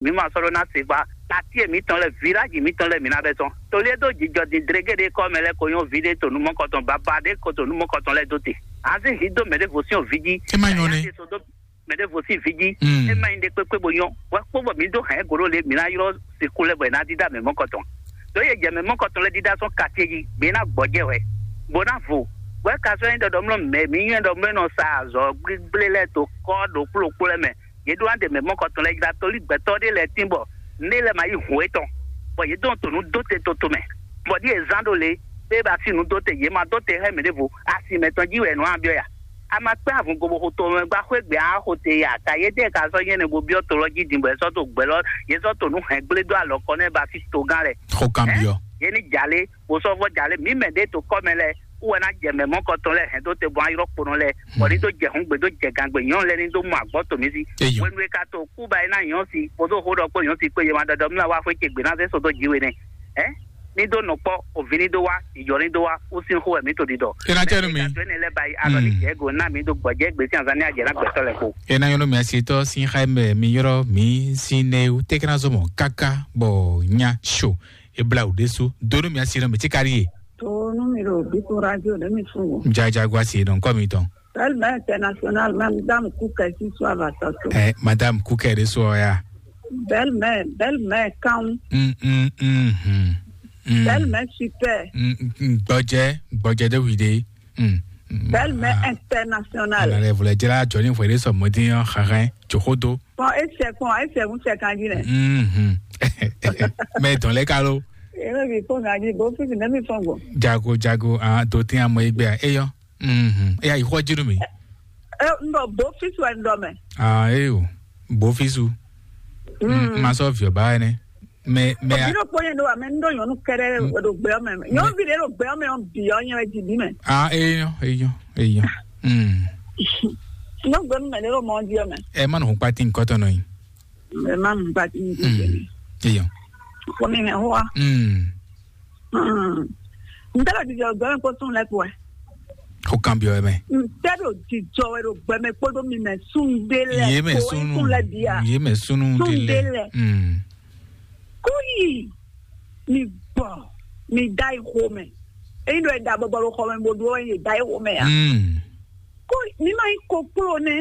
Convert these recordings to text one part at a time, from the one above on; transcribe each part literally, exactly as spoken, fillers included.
mǐ ma sɔ́ ɖó ná se gbá. Atíe mǐtɔn lɛ́ɛ, vǐláji mǐtɔn lɛ́ɛ, mǐ ná bɛ́ tɔ́n. Tolí e dó jijɔ din dregé ɖé kɔ́ mɛ lɛ́ɛ ko nyɔ́ ví ɖé to nǔ mɔkɔtɔn baba ɖé ko to nǔ mɔkɔtɔn lɛ́ɛ dó te. Azín hǐ dó mɛɖěvo sín ɔ́ ví jí. É má nyɔ́ nɛ́. Mɛɖěvo sín ví jí. Mm. É má nyí ɖé kpékpé bo nyɔ́. Wɛ kpó bɔ mǐ dó hɛn égǒ ɖó le, mǐ ná ylɔ́ sixú lɛ́ɛ bɔ è nǎ dídá mɛ mɔkɔtɔn. Ɖó yě jɛ mɛ mɔkɔtɔn lɛ́ɛ dídá sɔ́ katíe jí, gbě ná gbɔjɛ́ hwɛ, bó ná vo. Wɛ ka sɔ́ nyí ɖɔ ɖɔmlɔ́ mɛ mǐ nyɔ́ ɖɔ mlɔ́ nɔ sa azɔ̌ gbígblé lɛ́ɛ to kɔ́ ɖo kplókpló lɛ́ɛ mɛ. Yě ɖó ná ɖe mɛ mɔkɔtɔn lɛ́ɛ jlá, tolí gbɛtɔ́ ɖé lɛ́ɛ tín bɔ nǔɖé lɛ́ɛ ma yí hǔn étɔn, bɔ yě dɔn to nǔ dó te toto mɛ, bɔ ɖíe zán ɖo le, bó e ba sí nǔ dó te, yě ma dó te hɛn mɛ ɖěvo, asi mɛtɔn jí wɛ nǔ a byɔ́ ya. A ma kpɛ́n avun gobo xo to mɛ gbá xwé gbé a xo te ya, ta yě dɛ́ ka sɔ́ nyɛ́ nɛ bo byɔ́ to lɔ jí din bɔ yě sɔ́ to gbɛ lɔ, yě sɔ́ to nǔ hɛn gblé dó alɔ kɔ nɛ́ ba sí togán lɛ́ɛ. Xó kanbyɔ́. Yě ní jà lé, bó sɔ́ vɔ́ jà lé, mǐ mɛ ɖě to kɔ́ mɛ lɛ́ɛ, kú wɛ ná jɛ mɛ mɔkɔtɔn lɛ́ɛ hɛn dó te bɔ ayɔ́ kponɔ lɛ́ɛ, bɔ ní dó jɛ hǔn gbe dó jɛ gangbe nyɔ̌nu lɛ́ɛ ní dó mɔ agbɔ́ to mǐ sí. Eyɔ. Hwenu e ka to kú ba é ná nyɔ́ si, kpódó xó ɖɔ kpó nyɔ́ si kpé yě ma ɖɔɖɔ mí wá xwé ce gbe ná zé so dó jǐ we nɛ́. Ɛ? Ní dó nɔ kpɔ́, òvi ní dó wá, ìjɔ ní dó wá, kú sín xó wɛ mǐ to ɖiɖɔ. É ná tɛ́ nú mi. Mɛ e ka dó énɛ́ lɛ́ɛ ba yi alɔ ní jɛ égǒ ná mǐ dó gbɔjɛ́ gbe sín azán ní ajɛ ná gbɛtɔ́ lɛ́ɛ kpo. É ná nyɔ́ nú mi asi tɔ́ sín xá mɛ mi ylɔ́ mǐ sín nɛ́ wú tɛ́ ká ná zɔ́ mɔ̌ káká bɔ nya sho. Eblawu ɖésú dó nú mì asi nɔ mì tí ka ɖíe. To nú mi ɖo bíkún radio ɖé mi fún o. Jajago asi nɔ ŋkɔ mitɔn. Belle-mère internationale, Madame Cook, si soit va tɔtɔ. Eh, Madame Cook ɖésú ɔ́ ya. Belle-mère, belle-mère kan. Mm, mm, mm, mm, mm. Belle-mère super. Mm, mm, mm, gbɔjɛ, gbɔjɛ ɖé wi ɖé. Mm, mm, Belle-mère ah, internationale. Ana lɛ vlɛ jla jɔ ní hwɛ ɖé sɔ mɔdí ɔ́ xaxɛ tso xó dó. Kpɔn esɛ kpɔn esɛ ŋu sɛ kan jí nɛ. Mhm. Mɛ dɔn lɛ ka lo. Eme bi fɔ ŋa jí bo fisi ne mi fɔn gbɔ. Jago jago ah do tin amɔ egbe a eyɔ. Mhm. Eya yi xɔ jinu mi. E n dɔ bo fisi wɛ n dɔ mɛ. Ah eyo bo fisu. Mm. Ma sɔ viɔ ba ne. Mɛ mɛ a. Obi ɖo kpɔnyɛ ɖo wa mɛ n ɖo nyɔnu kɛɖɛ ɖo gbɛ ɔmɛ mɛ nyɔnu bi ɖe ɖo gbɛ ɔmɛ ɔn bi ɔnyɛ wɛ ji bi mɛ. Ah eyɔ eyɔ eyɔ. Mm. Nyɔnu gbɛ mɛ ɖe ɖo mɔ di ɔmɛ. Ɛ ma nɔ hun kpati nkɔtɔ nɔ yi. Ɛ ma nɔ hun kpati nkɔtɔ nɔ yi. Eyɔ. Kɔmi hɛn wa. Mm. N tɛ ɖo jijɔ gbɛ mɛ kpó tún lɛ kpó ɛ. Xó kan byɔ mɛ. N tɛ ɖo jijɔ wɛ ɖo gbɛ mɛ kpódó mi mɛ sún ɖé lɛ. Yé mɛ kó sunu sún lɛ bia. Yé mɛ sunu sún ɖé ɖé lɛ. Mm. Kó yi mi gbɔ mi da yi xo mɛ. Eyi ɖo ɛda bɔbɔ ɖo xɔ mɛ bo ɖo ye da yi xo mɛ ya. Mm. Kó mi ma yi koklo nɛ.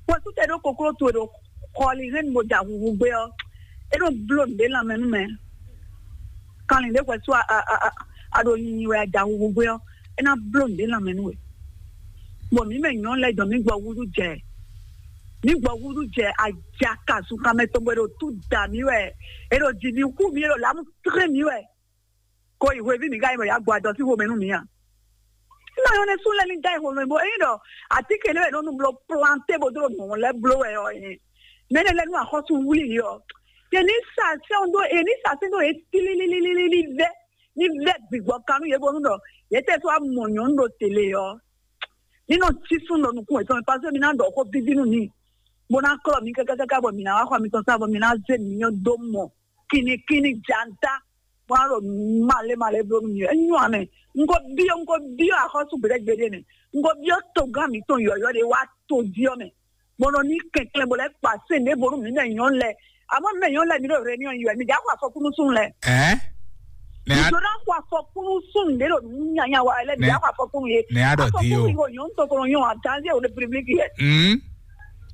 Wɛ sutɛ ɖo koklo to ɖo xɔli hɛn mo da huhu gbé ɔ. E ɖo blo nɖe lanmɛ nu mɛ. Kanlin ɖe hwɛ so a a a a ɖo nyinyi wɛ a da huhu gbé ɔ. E na blo nɖe lanmɛ nu wɛ. Bɔ mǐ mɛ nyɔ̌nu lɛ́ɛ dɔn mǐ gbɔ wúɖú jɛ. Mǐ gbɔ wúɖú jɛ ajaka sunkanmɛ tɔn bɔ è ɖo tú da mǐ wɛ. È ɖo ji mǐ xú mǐ, è ɖo lǎmu tlé mǐ wɛ. Ko yi hweví mǐ ka nyí bɔ yǎ gbɔ adɔ sín xomɛ nú mǐ a? Nɔ yɔn ne sún lɛ ní dá ìhòòhò bɔ eyín ɖɔ àtíkè lé wɛ nɔ nu blɔ planté bó dó nɔ lɛ bló wɛ ɔ yẹn. Mɛ ne lɛ nú axɔ́sú wúlí yɔ. Yɛ ní sa sɛn dó yɛ ní sa sɛn dó yɛ tílílílílí vɛ ní vɛ gbigbɔ kanú yɛ bónú ɖɔ yɛ tɛ tó amɔ nyɔnu ɖo télé ɔ. Ní nɔ sísún ɖɔ nukún yɛtɔn mi paseke mi ná ɖɔ xó bíbí nú mi, bó ná klɔ mi kákákáká bɔ mi ná wá xɔ mitɔn sá bɔ mi ná zé mi nyɔ dó mɔ kínníkínní janta, bó ná ɖo malé malé bló nú mi. Enyɔ amɛ, un ko biɔ un ko biɔ axɔ́sú gbeɖé gbeɖé nɛ, un ko biɔ togán mitɔn yɔyɔ ɖé wá to jí ɔ mɛ, bó nɔ ní kɛnklɛn bó lɛ kpa sɛn ɖěvo nú mi mɛ nyɔnu lɛ. Àmọ́ mi mɛ nyɔnu lɛ mi ɖo réunion yi wɛ, mi já xɔ afɔkúnú sún lɛ. Ɛ? Nɛ a. Ìjọba xɔ afɔkúnú sún ɖé ɖo nyanya wa lɛ, mi já xɔ afɔkúnú ye. Nɛ a ɖɔ di o. Afɔkúnú yìí wò nyɔnu tó kɔnɔ nyɔ àtàndé ò lè piblik yɛ. Hmm.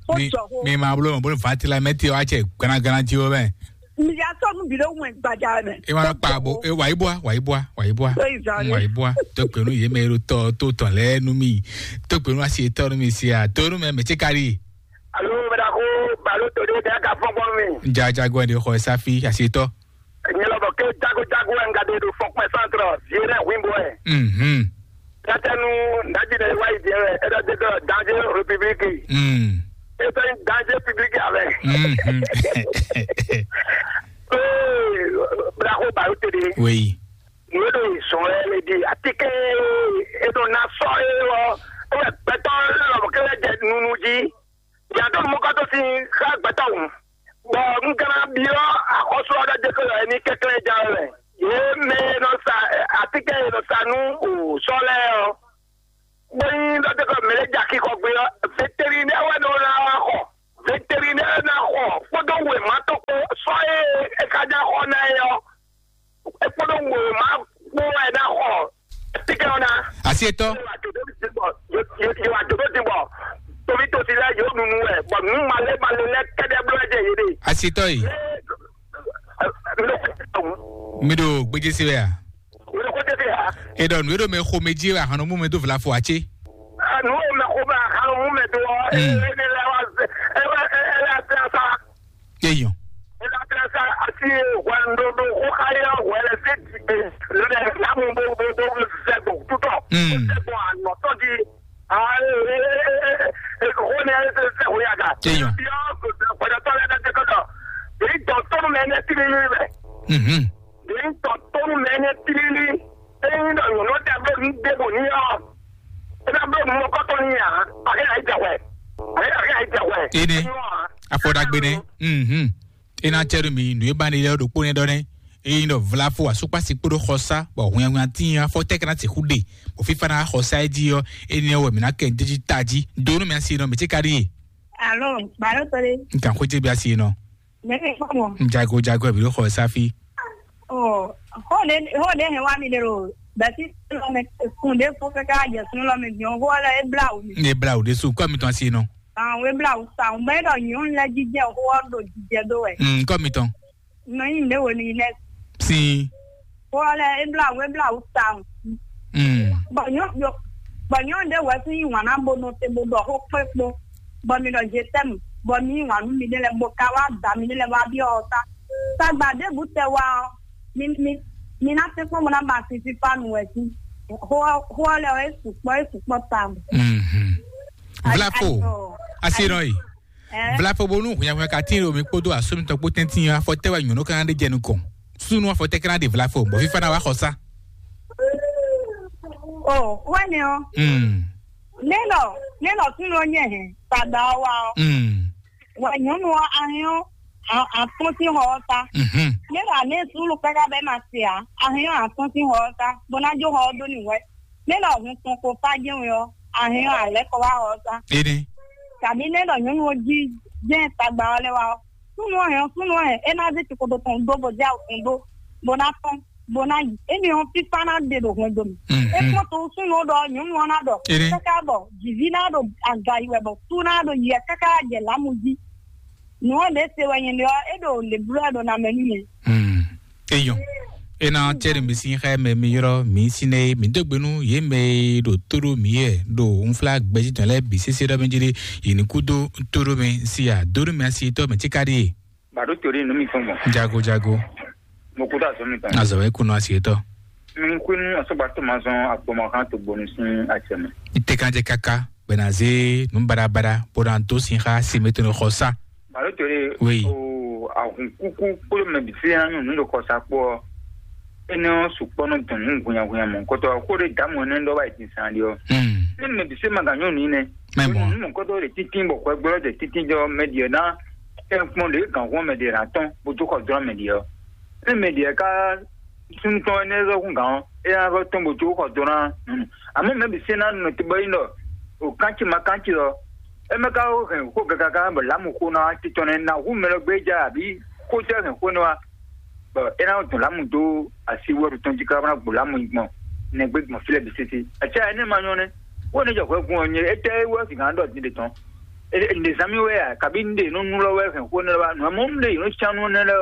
Ó Mi jọ ko. Mi ma bolo bolo fa ti la mɛ ti wa cɛ gana gana ti o mɛ. Mi já sọ nu bi ɖe wɛn gbaja mɛ. E ma kpa bo e wa ibua wa ibua wa ibua. Tó ìzà ni. Wa ibua tó penu ye mɛ ro tɔ tó tɔ lɛ nu mi tó penu asi tɔ nu mi si a tó nu mɛ mɛ tse kari. Alo, mɛ ɖaxó, balo to ɖé ɖe ka fɔn gbɔn mi. Jajago de xɔ safi asi tɔ. Nyɛ lɔ bɔ ké jago jago wɛ n ka ɖe ɖo fɔkpɛ centre vieux rɛ huimbo ɛ. Mhm. Tɛtɛnu ndaji ɖe wa yi diɛ wɛ e ɖɔ de ɖɔ danger république. Mm. E tɔ danger public avɛ. Mhm. Ee, bravo baro tede. Oui. Mo ɖo zɔn ɛ le di atike e ɖo na sɔ e wɔ e wɛ gbɛtɔ lɔ kɛ jɛ nunu ji. Yàtọ̀ mú kọ́tọ́ sí ká gbẹ́tọ̀ wù. Bọ̀ n kana biɔ axɔsɔ ɖe de ko yɔ ni kɛkɛ ja wɛ. Ye mɛ nɔ sa atike nɔ sa nu o sɔlɛ ɔ. Gbɛyin ɖɔ de ko mɛ ja kikɔ gbe ɔ. Vétérinaire wɛ nɔ na xɔ. Vétérinaire na xɔ kpɔdɔ wɛ ma tɔ Setɔ. Yóò wá dòdó ti bɔ, yóò wá dòdó ti bɔ, torí tó ti lɛ yóò nunu wɛ, bɔ nú malé malé lɛ kɛdɛ bló ɛdɛ yé de. Asetɔ yi. Mi ɖo gbéjé se wɛ a? Mi ɖo gbéjé se a? E ɖɔ nǔ e ɖo mɛ xo mɛ jí wɛ ahan nɔ mú mɛ dó vlafo a cé? Nu e mɛ xo mɛ ahan nɔ mú mɛ dó ɔ, e ne lɛ wá se, e wɛ e lɛ se asa. Eyɔn. E lɛ se asa asi hwɛ ndodo xo xayɔ hwɛ lɛ se ti gbe, lɛ na mu bo bo bo sɛ gbɔ tutɔ. Mm. Sɛ gbɔ anɔtɔ di. Ah, e e e e e xo ne e se se ho ya ga. Eyɔn. Bi ɔ ko se ko da tɔ lɛ na se ko dɔ. E dɔ tɔnu mɛ ne ti ni ni bɛ. Mhm. Ɖě un tɔ tónú mɛ énɛ́ tlílí, ényí ɖɔ nyɔ̌nu ɔ́ ká bló nǔ ɖěbǔ n'i ɔ́, é ná bló nǔ nukɔntɔn n'i ǎ, axé ná yi jɛ hwɛ, axé axé ná yi jɛ hwɛ. Énɛ́, afɔ ɖagbe nɛ́. Mhm. É ná cɛ ɖo mi nǔ e ba ne lɛ́ɛ ɖokpó nɛ́ ɖɔ nɛ́. Ényí ɖɔ vlafo asúkpasi kpódó xɔsá, bɔ hwɛnhwɛn tíin afɔ tɛ́ ka ná sixú ɖe, bɔ fífá ná xɔsá é jí ɔ́, énɛ́ wɛ mǐ ná kɛ nǔ jí tají. Do nú mi asi nɔ, mǐ cí ka ɖíe. Alo, balo tɔ́ ɖé. Un kan xwé ce bí asi nɔ. Mɛ kpɔmɔ. Jago jago bi xɔ safi. Ɔ, xɔ ɖe xɔ ɖe hɛn wa mi ɖe lo. Bɛsi lɔ mɛ kun ɖe fo kaka jɛ sun lɔ mɛ diɔn xɔ lɛ ebla o mi. Ne bla o de su kɔ mi tɔn si nɔ. Àwọn ebla o sa o mɛ ɖɔ nyɔnu lɛ jijɛ xɔ ɖo jijɛ do wɛ. Mm, kɔ mi tɔn. Nɔ yin ɖe wo ni lɛ. Si. Xɔ lɛ ebla o ebla o sa o. Mm. Bɔ nyɔ bɔ nyɔ ɖe wɛ fún yin wana bo nɔ te bo ɖɔ xó kpé kpó. Bɔ mi ɖɔ je t'aime, bɔ mi yí wǎn nú miɖée lɛ́ɛ, bó ka wá da miɖée lɛ́ɛ wá byɔ́ ɔ́ ta. Tagba ɖěbǔ tɛ wá ɔ́, mi mi mi ná tɛ́nkpɔ́n bó ná ba sin fífá nu wɛ sín. Xó ɔ́ xó ɔ́ lɛ́ɛ ɔ́, é sukpɔ́ é sukpɔ́ tawun. Mhm. Vlafo, asi nɔ yi. Vlafo bónú hwɛnhwɛn ka tín ɖo mi kpódó asú mitɔn kpó tɛ́ntin afɔ tɛ́ wɛ nyɔ̌nu ka ná ɖe jɛ nukɔn. Súnnu afɔ tɛ́ ka ná ɖe vlafo, bɔ fífá ná wá xɔ sá. O wɛnɛ ɔ. Mm. Nélɔ nélɔ súnnu ɔ́ nyɛ hɛn tagba ɔ́ wá ɔ́. Mm. Wɛ nyɔ̌nu ɔ́ ahɛn ɔ́ atɔ́n sín xɔ ɔ́ ta. Mhm. Nélɔ anɛ súnnu káká bɛ́ ma se ǎ, ahɛn ɔ́ atɔ́n sín xɔ ɔ́ ta bó ná jó xɔ ɔ́ dó n'i wɛ. Nélɔ hun tɔn ko fá jɛ́n wɛ ɔ́, ahɛn ɔ́ alɛ̌ kɔ wá xɔ ɔ́ ta. Énɛ́. Tàbí nélɔ nyɔ̌nu ɔ́ jí jɛ́n tagba ɔ́ lɛ́ wá ɔ́, súnnu ɔ́ hɛn ɔ́, súnnu ɔ́ hɛn é ná zé cikodo tɔn dó bó zé awu tɔn dó bó ná tɔ́n. Bó ná yi. Énɛ́ ɔ́, fífá ná ɖe ɖo hwɛndo mɛ. Mhm. É kpɔ́n to súnnu ɔ́ ɖɔ nyɔ̌nu ɔ́ ná ɖɔ. Káká bɔ jǐví ná ɖo aga yi wɛ bɔ sú ná ɖo yi wɛ káká jɛ lǎmu jí. Nǔ ɔ́ ɖě se wɛ nyɛ ɖe ɔ́, é ɖo lě bló wɛ ɖo ná mɛ nú nyɛ. Hmm. Eyɔn. Ena cɛɖi mi sin xɛ mɛ mi yrɔ mi sin ne mi dó gbenu ye mɛ ɖo tóɖó mi yɛ ɖo nfla gbɛji tɔn lɛ bi sese ɖɔ mi jiri yi ni kudo tóɖó mi si a dóɖó mi asi tɔ mi tsi ka ɖi. Bado tori nu mi fún mɔ. Jago jago. Mo kudo azɔ mi tɔn. Azɔ wɛ kunu asi tɔ. Mi kunu asɔgba to ma zɔn agbɔmɔ kan to gbonu sin atsɛ mɛ. Ite kan jɛ kaka bɛna ze nu barabara bó na dó sin xa si mi to ne xɔ sa. Balo tole. Oui. O ahun kuku kpolo mɛ bi se na nyɔnu ɖo kɔsa kpɔ. Ene ɔ sukpɔ nɔ dɔn nu hunyahunya mɔ kɔtɔ ko ɖe damu ne ɖɔ wa yi san ɖi ɔ. Hmm. Ne mɛ bi se ma ga nyɔnu yi nɛ. Mɛ mɔ. Nu mɔ kɔtɔ ɖe titin bɔ kɔ gbɔ ɖe titin jɔ mɛ ɖi na. Ɛ kpɔn ɖe gan hɔn mɛ ɖe na tɔn bo to kɔ dɔn mɛ ɖi ɔ. Ne mɛ ɖi ka suntɔ ne zɔ kun gan ɔ, e na zɔ tɔn bo to kɔ dɔn na. Amo mɛ bi se na nɔ te bɔ yi nɔ. O kantsi ma kantsi ɔ. Eme ka wo hɛn xó gagagã bɔ lamu xó na titɔ nɛ na hu mɛ lɔ gbé ja abi xó jɛ hɛn xó nɛ wa. Bɔ e na dun lamu do asi wɛru tɔn ji ka na gbo lamu gbɔn nɛ gbé gbɔn filɛ bi sese. Atsɛ ene ma nyɔ nɛ. Wo ne jɔ hwɛ gun ɔ nye ete wɛ si gan dɔ din de tɔn. E ne zami wɛ ya kabi ne de no nu lɔ wɛ hɛn xó nɛ wa nu amɔ ne de yi no tsa nu nɛ lɛ.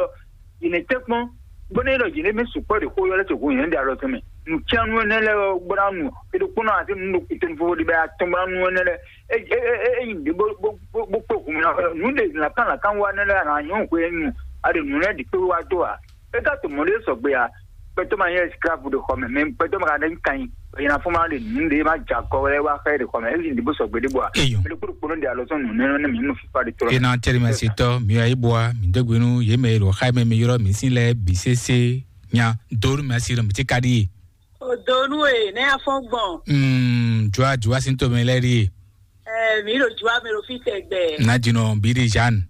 Yi ne tɛ kpɔn. Bɔ ne yɛ dɔ yi ne mi sukpɔ de xó yɔ lɛ to gun yɛn de alɔ tɔn mɛ. Nu tsa nu nɛ lɛ bɔ na nu. E do kpɔn na ase nu do kutɔn fo de bɛ atɔn bɔ na nu nɛ lɛ. E e e e yi de bo bo bo bo kpo hun na nu de na kan na kan wa nɛ lɛ na nyɔ ko e nu. A de nu lɛ di kpe wa do a. E ka to mɔ de sɔgbe a. Pɛtɔ ma yɛ esclave de xɔ mɛ, mɛ pɛtɔ ma ka ne kan yi. E na fɔ ma de nu de ma ja kɔ wɛ wa xɛ de xɔ mɛ. E yi de bo sɔgbe de bo a. Eyo. E de kpo kpo de alɔ sɔn nu nɛ nɛ mi mu fifa de tɔ. E na tɛri ma se tɔ mi wa yi bo a mi dɔgbe nu ye mɛ lo xa mɛ mi yɔrɔ mi si lɛ bi sese nya do mi asi lɔ mi ti ka di ye. O do nu e ne afɔ gbɔn. Mm, jua jua si to mi lɛ di ye. Eh, mi ɖo jua mi ɖo fi tɛgbɛ. Na dzi nɔ bi di Jeanne.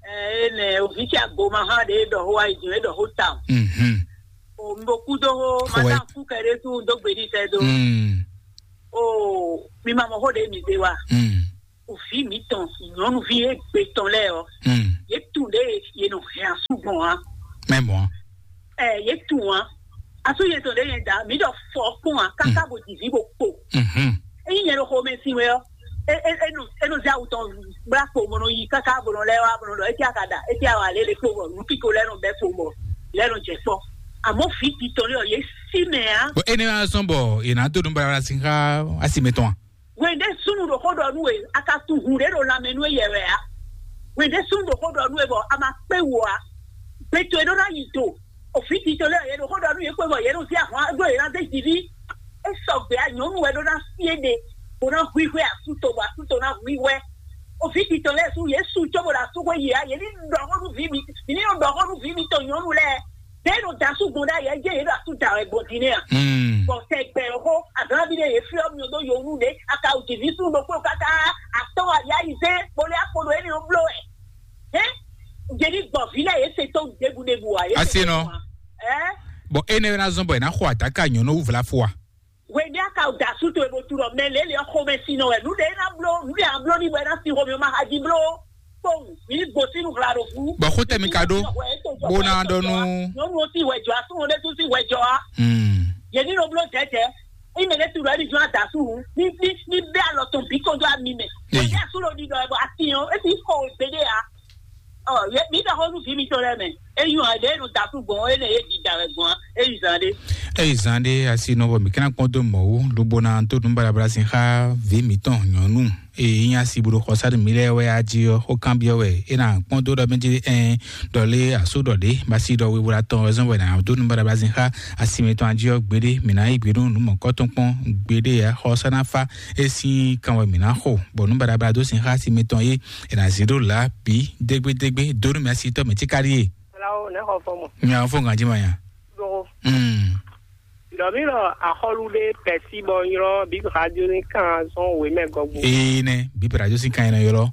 Eh, ene ovi tsi agoma hã ɖe ɖɔ ho ayi dzi ɖɔ ho ta. Mhm. O mi bo ku do ho. Xɔɛ. Ma ta ku kɛ ɖe tu do gbe di tɛ do. Mm. O mi ma mɔ ho ɖe mi de wa. Mm. Ovi mi tɔn nyɔnuvi egbe tɔn lɛ ɔ. Mm. Ye tu ɖe ye nɔ hɛn asu gbɔn wa. Mɛ mɔ. Eh, ye tu wa. Asú yɛn tɔn ɖe yɛn da, mi ɖɔ fɔ kpɔn a, kaka bo di vi bo kpo. Mhm. Eyi nyɛ ɖo xomɛ sin wɛ ɔ, e e e nɔ e nɔ zɛ awu tɔn bla kpo bɔ nɔ yi kaka bɔ nɔ lɛ wa bɔ nɔ lɔ eti aka da eti awa lele kpo bɔ nu kiko lɛ nɔ bɛ kpo bɔ lɛ nɔ jɛ kpɔ. Amɔ fi ti tɔn lɛ ɔ ye si mɛ a. Bɔn ene wa sɔn bɔ yena to nu bara sin xa asi mɛ tɔn a. Wende sunu ɖo xó ɖɔ nú we, a ka tunhun ɖě ɖo lanmɛ nú we yɛ wɛ a? Wende sunu ɖo xó ɖɔ nú we bɔ a ma kpé wò a? Gbe towe ɖó ná yi do. Òfin tito lɛ́ɛ yě ɖo xó ɖɔ nú yě kpé bɔ yě ɖo sí ahwan ɖó yě ná zé jiví. É sɔgbe a nyɔ̌nu wɛ ɖó ná sí éɖe, bó ná hu ihwɛ asú to bɔ asú to ná hu ihwɛ. Òfin tito lɛ́ɛ sú yě su có bó ɖo asú xwé yi a, yě ní ɖɔ xó nú vǐ mi, yě ní ɖɔ xó nú vǐ mitɔn nyɔ̌nu lɛ́ɛ. Ɖé ɖo da sú gbɔn ɖ'ayǐ, é jẹ́ yě ɖo asú da wɛ gbɔn din nɛ́ a? Hmm. Bɔ sɛ gbɛ xó, azǎn ví ɖé yě fyɔ́ mi ɖó yowú ɖé, aka wǔ jiví sú ɖokpó káká, atɔ́ ayá yi zé, kpolé akpo ɖo énɛ́ ɔ́ bló wɛ. Hɛn, jeli gbɔ vi lɛ ye se tɔn ɖebu ɖebu wa ye. Asi nɔ. Ɛ. Bɔn ene na zɔn bɔ ena xɔ adaka nyɔnu vla fo wa. Wɛdi aka da su to ebo tu lɔ mɛ lele xɔmɛ si nɔ wɛ nu de na blo nu de a blo ni bɔ ena si xɔmɛ ma haji blo. Kpɔn mi ni gbosi nu hla ɖo fu. Bɔn xo tɛ mi ka ɖo. Bo na ɖɔ nu. Nyɔnu o si wɛ jɔ a, sunwɔn de tu si wɛ jɔ a. Hmm. Ye ni nɔ blo jɛjɛ. Ime de tu lɔ ɛdi jɔ a da su hu. Ni ni ni bɛ alɔ tɔn bi ko do ami mɛ. Eyi. Wɛdi a su lɔ di dɔ ɛ bɔ a ti yɔn e ti xɔ o gbe de a. Ɔ, ye mi ɖɔ xó nú vǐ mitɔn lɛ́ɛ mɛ. É nyí ɔ́, ɖěe nɔ da kú gbɔn, énɛ́ yě ɖi da wɛ gbɔn ɔ́, é yi zan ɖé. É yi zan ɖé asi nɔ bɔ mǐ ka ná kpɔ́n dó mɔ̌ wú, lobo ná dó nǔ baɖabaɖa sin xá vǐ mǐtɔn nyɔ̌nu e nyí asi bo ɖo xɔsá nú mǐ lɛ́ɛ wɛ á jí ɔ́, xó kanbyɔ́ wɛ é ná kpɔ́n dó ɖɔ mɛ jí ɛn ɖɔ lé asú ɖɔ ɖě ba sí ɖɔ wewla tɔn wɛ zɔ́n wɛ ná dó nǔ baɖabaɖa sin xá asi mǐtɔn á jí ɔ́ gbeɖé, mǐ ná yí gbe nú nǔ mɔ̌kɔ́tɔn kpɔ́n gbeɖé ǎ. Xɔsá ná fá é sín kan wɛ mǐ ná xo, bɔ nǔ baɖabaɖa dó sin xá asi mǐtɔn é. È nǎ zé ɖó lǎ bǐ dégbédégbé dó nú mɛ asitɔ́ mɛ tíkáɖíe. Flawo nɛ́ xɔ fɔ mɔ. Nya fó ganjí ma nya. Ɖoxo. Mm. Ɖɔ mí lɔ axɔlu ɖé pɛsí bɔ nylɔ bí radio ní kan zɔn wě mɛ gɔgbo. Ee nɛ, bí radio sí kan yẹn ylɔ.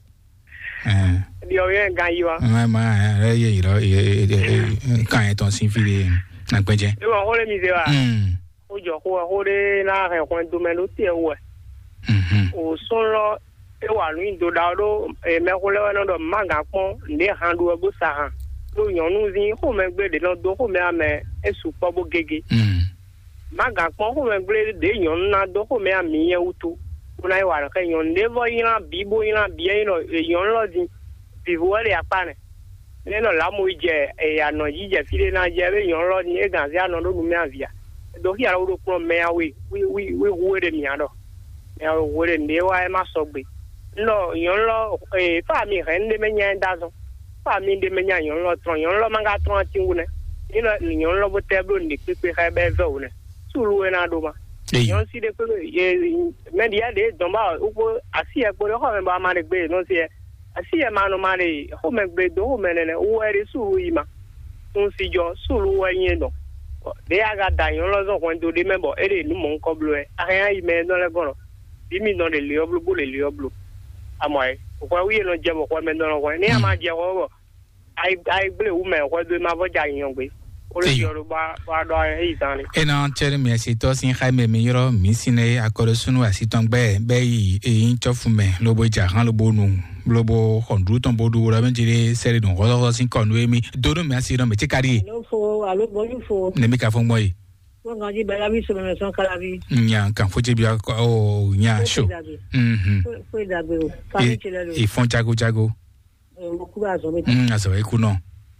Ɛn. Ɖiɔ yɛ gan yi wa. Ma ma ɛ yɛ ylɔ kan yẹn tɔn sín fí ɖé. Na gbɛjɛ. Ewɔ xó lé mi zé wa. Mm. Xó jɔ xó wɛ, xó ɖé ná hɛn hwɛndo mɛ ɖó te wɛ. Mhm. O sɔn lɔ e wa nǔ nyi do ɖa ɔ́ ɖó mɛxó lɛ́ɛ wɛ nɔ ɖɔ má gǎn kpɔ́n nǔɖé han ɖu wɛ bó sa han. Ɖó nyɔ̌nuzín xomɛgblé ɖě nɔ dó xomɛ amɛ é sukpɔ́ bó gégé. Mhm. Má gǎn kpɔ́n xomɛgblé ɖě nyɔ̌nu ná dó xomɛ amǐ nyɛ wútu, bó ná yi wa nǔ xɛ nyɔ̌nu ɖé vɔ nylá bǐ bó nylá bǐ é nyí ɖɔ nyɔ̌nu lɔ din vǐvú wɛ ɖe akpá nɛ. Nɛ́ nɔ lǎmu yi jɛ anɔ̌ jí jɛ fí ɖé ná jɛ ée nyɔ̌nu lɔ ní é gǎn zé anɔ ɖó nu mɛ avǐ a? Ɖo xí alɔ ɖo kplɔ́n mɛ a we wí wí wí hu é ɖe mǐ a ɖɔ. Mɛ a we hu é ɖe nǔɖé wá é má sɔgbe. Un ɖɔ nyɔ̌nu lɔ ee fá mi hɛn ɖé mɛ nya é dó azɔn. Fá mi ɖé mɛ nya nyɔ̌nu lɔ trɔn, nyɔ̌nu lɔ má ka trɔn atín wú nɛ́. Ní lɔ nyɔ̌nu lɔ bó tɛ́ bló nǔɖé kpékpé xá ɛ bɔ é vɛ́ wǔ nɛ́. Súlu é ná ɖó ma. Nyɔ̌nu sí ɖé kpékpé mɛ ɖi ya ɖě dɔn ba wúkpó así ɛ kpo ɖé xɔ mɛ bɔ a ma ɖe gbé nɔ sí ɛ. Asi yɛ ma nɔ ma ɖe xomɛ gbe dó xomɛ nɛnɛ wú wɛ ɖe súlu yi ma. Sun si jɔ súlu wɛ nyɛ dɔn. Ɖé a ka da nyɔ̌nu lɔ zɔn hwɛndo ɖé mɛ bɔ é ɖe nǔ mɔ̌hunkɔ bló wɛ. A hɛn ayi mɛ e nɔ lɛ́ gɔn lɔ. Bí mi nɔ ɖe li ɔ́ bló bó ɖe li ɔ́ bló. Amɔ ɛ, hwɛ wú yě nɔ jɛ bɔ hwɛ mɛ nɔ hwɛ. Ní a ma jɛ hwɛ bɔ ayi ayi gblé wú mɛ hwɛ dó e ma vɔ jɛ anyɔ gbe. Ó lè Eyi. Jɔ ɖo ba ba ɖɔ ayi zan ɖe. Ena tsɛri mi asi tɔ sin xa mɛ mi yɔrɔ mi sin ne akɔɖɔ sunu asi tɔn gbɛ bɛ yi eyin tsɔfu mɛ lobo ja han lobo nu lobo xɔndru tɔn bo ɖu wura mi jere sɛri dun xɔsɔxɔ sin kɔ nu emi do nu mi asi nɔ mi ti kari. Alo fo, alo bɔju fo. Ne mi ka fɔ mɔ yi. Fo ngan ji bɛ labi sɔmɛ mɛ sɔn kalabi. Nya kan fo jebi o nya so. Mhm. Fo dagbe o. Kami ti lɛ lo. Ifɔn jago jago. Mo kúrò azɔ̌ mi. Mm, azɔ̌ e kú nɔ.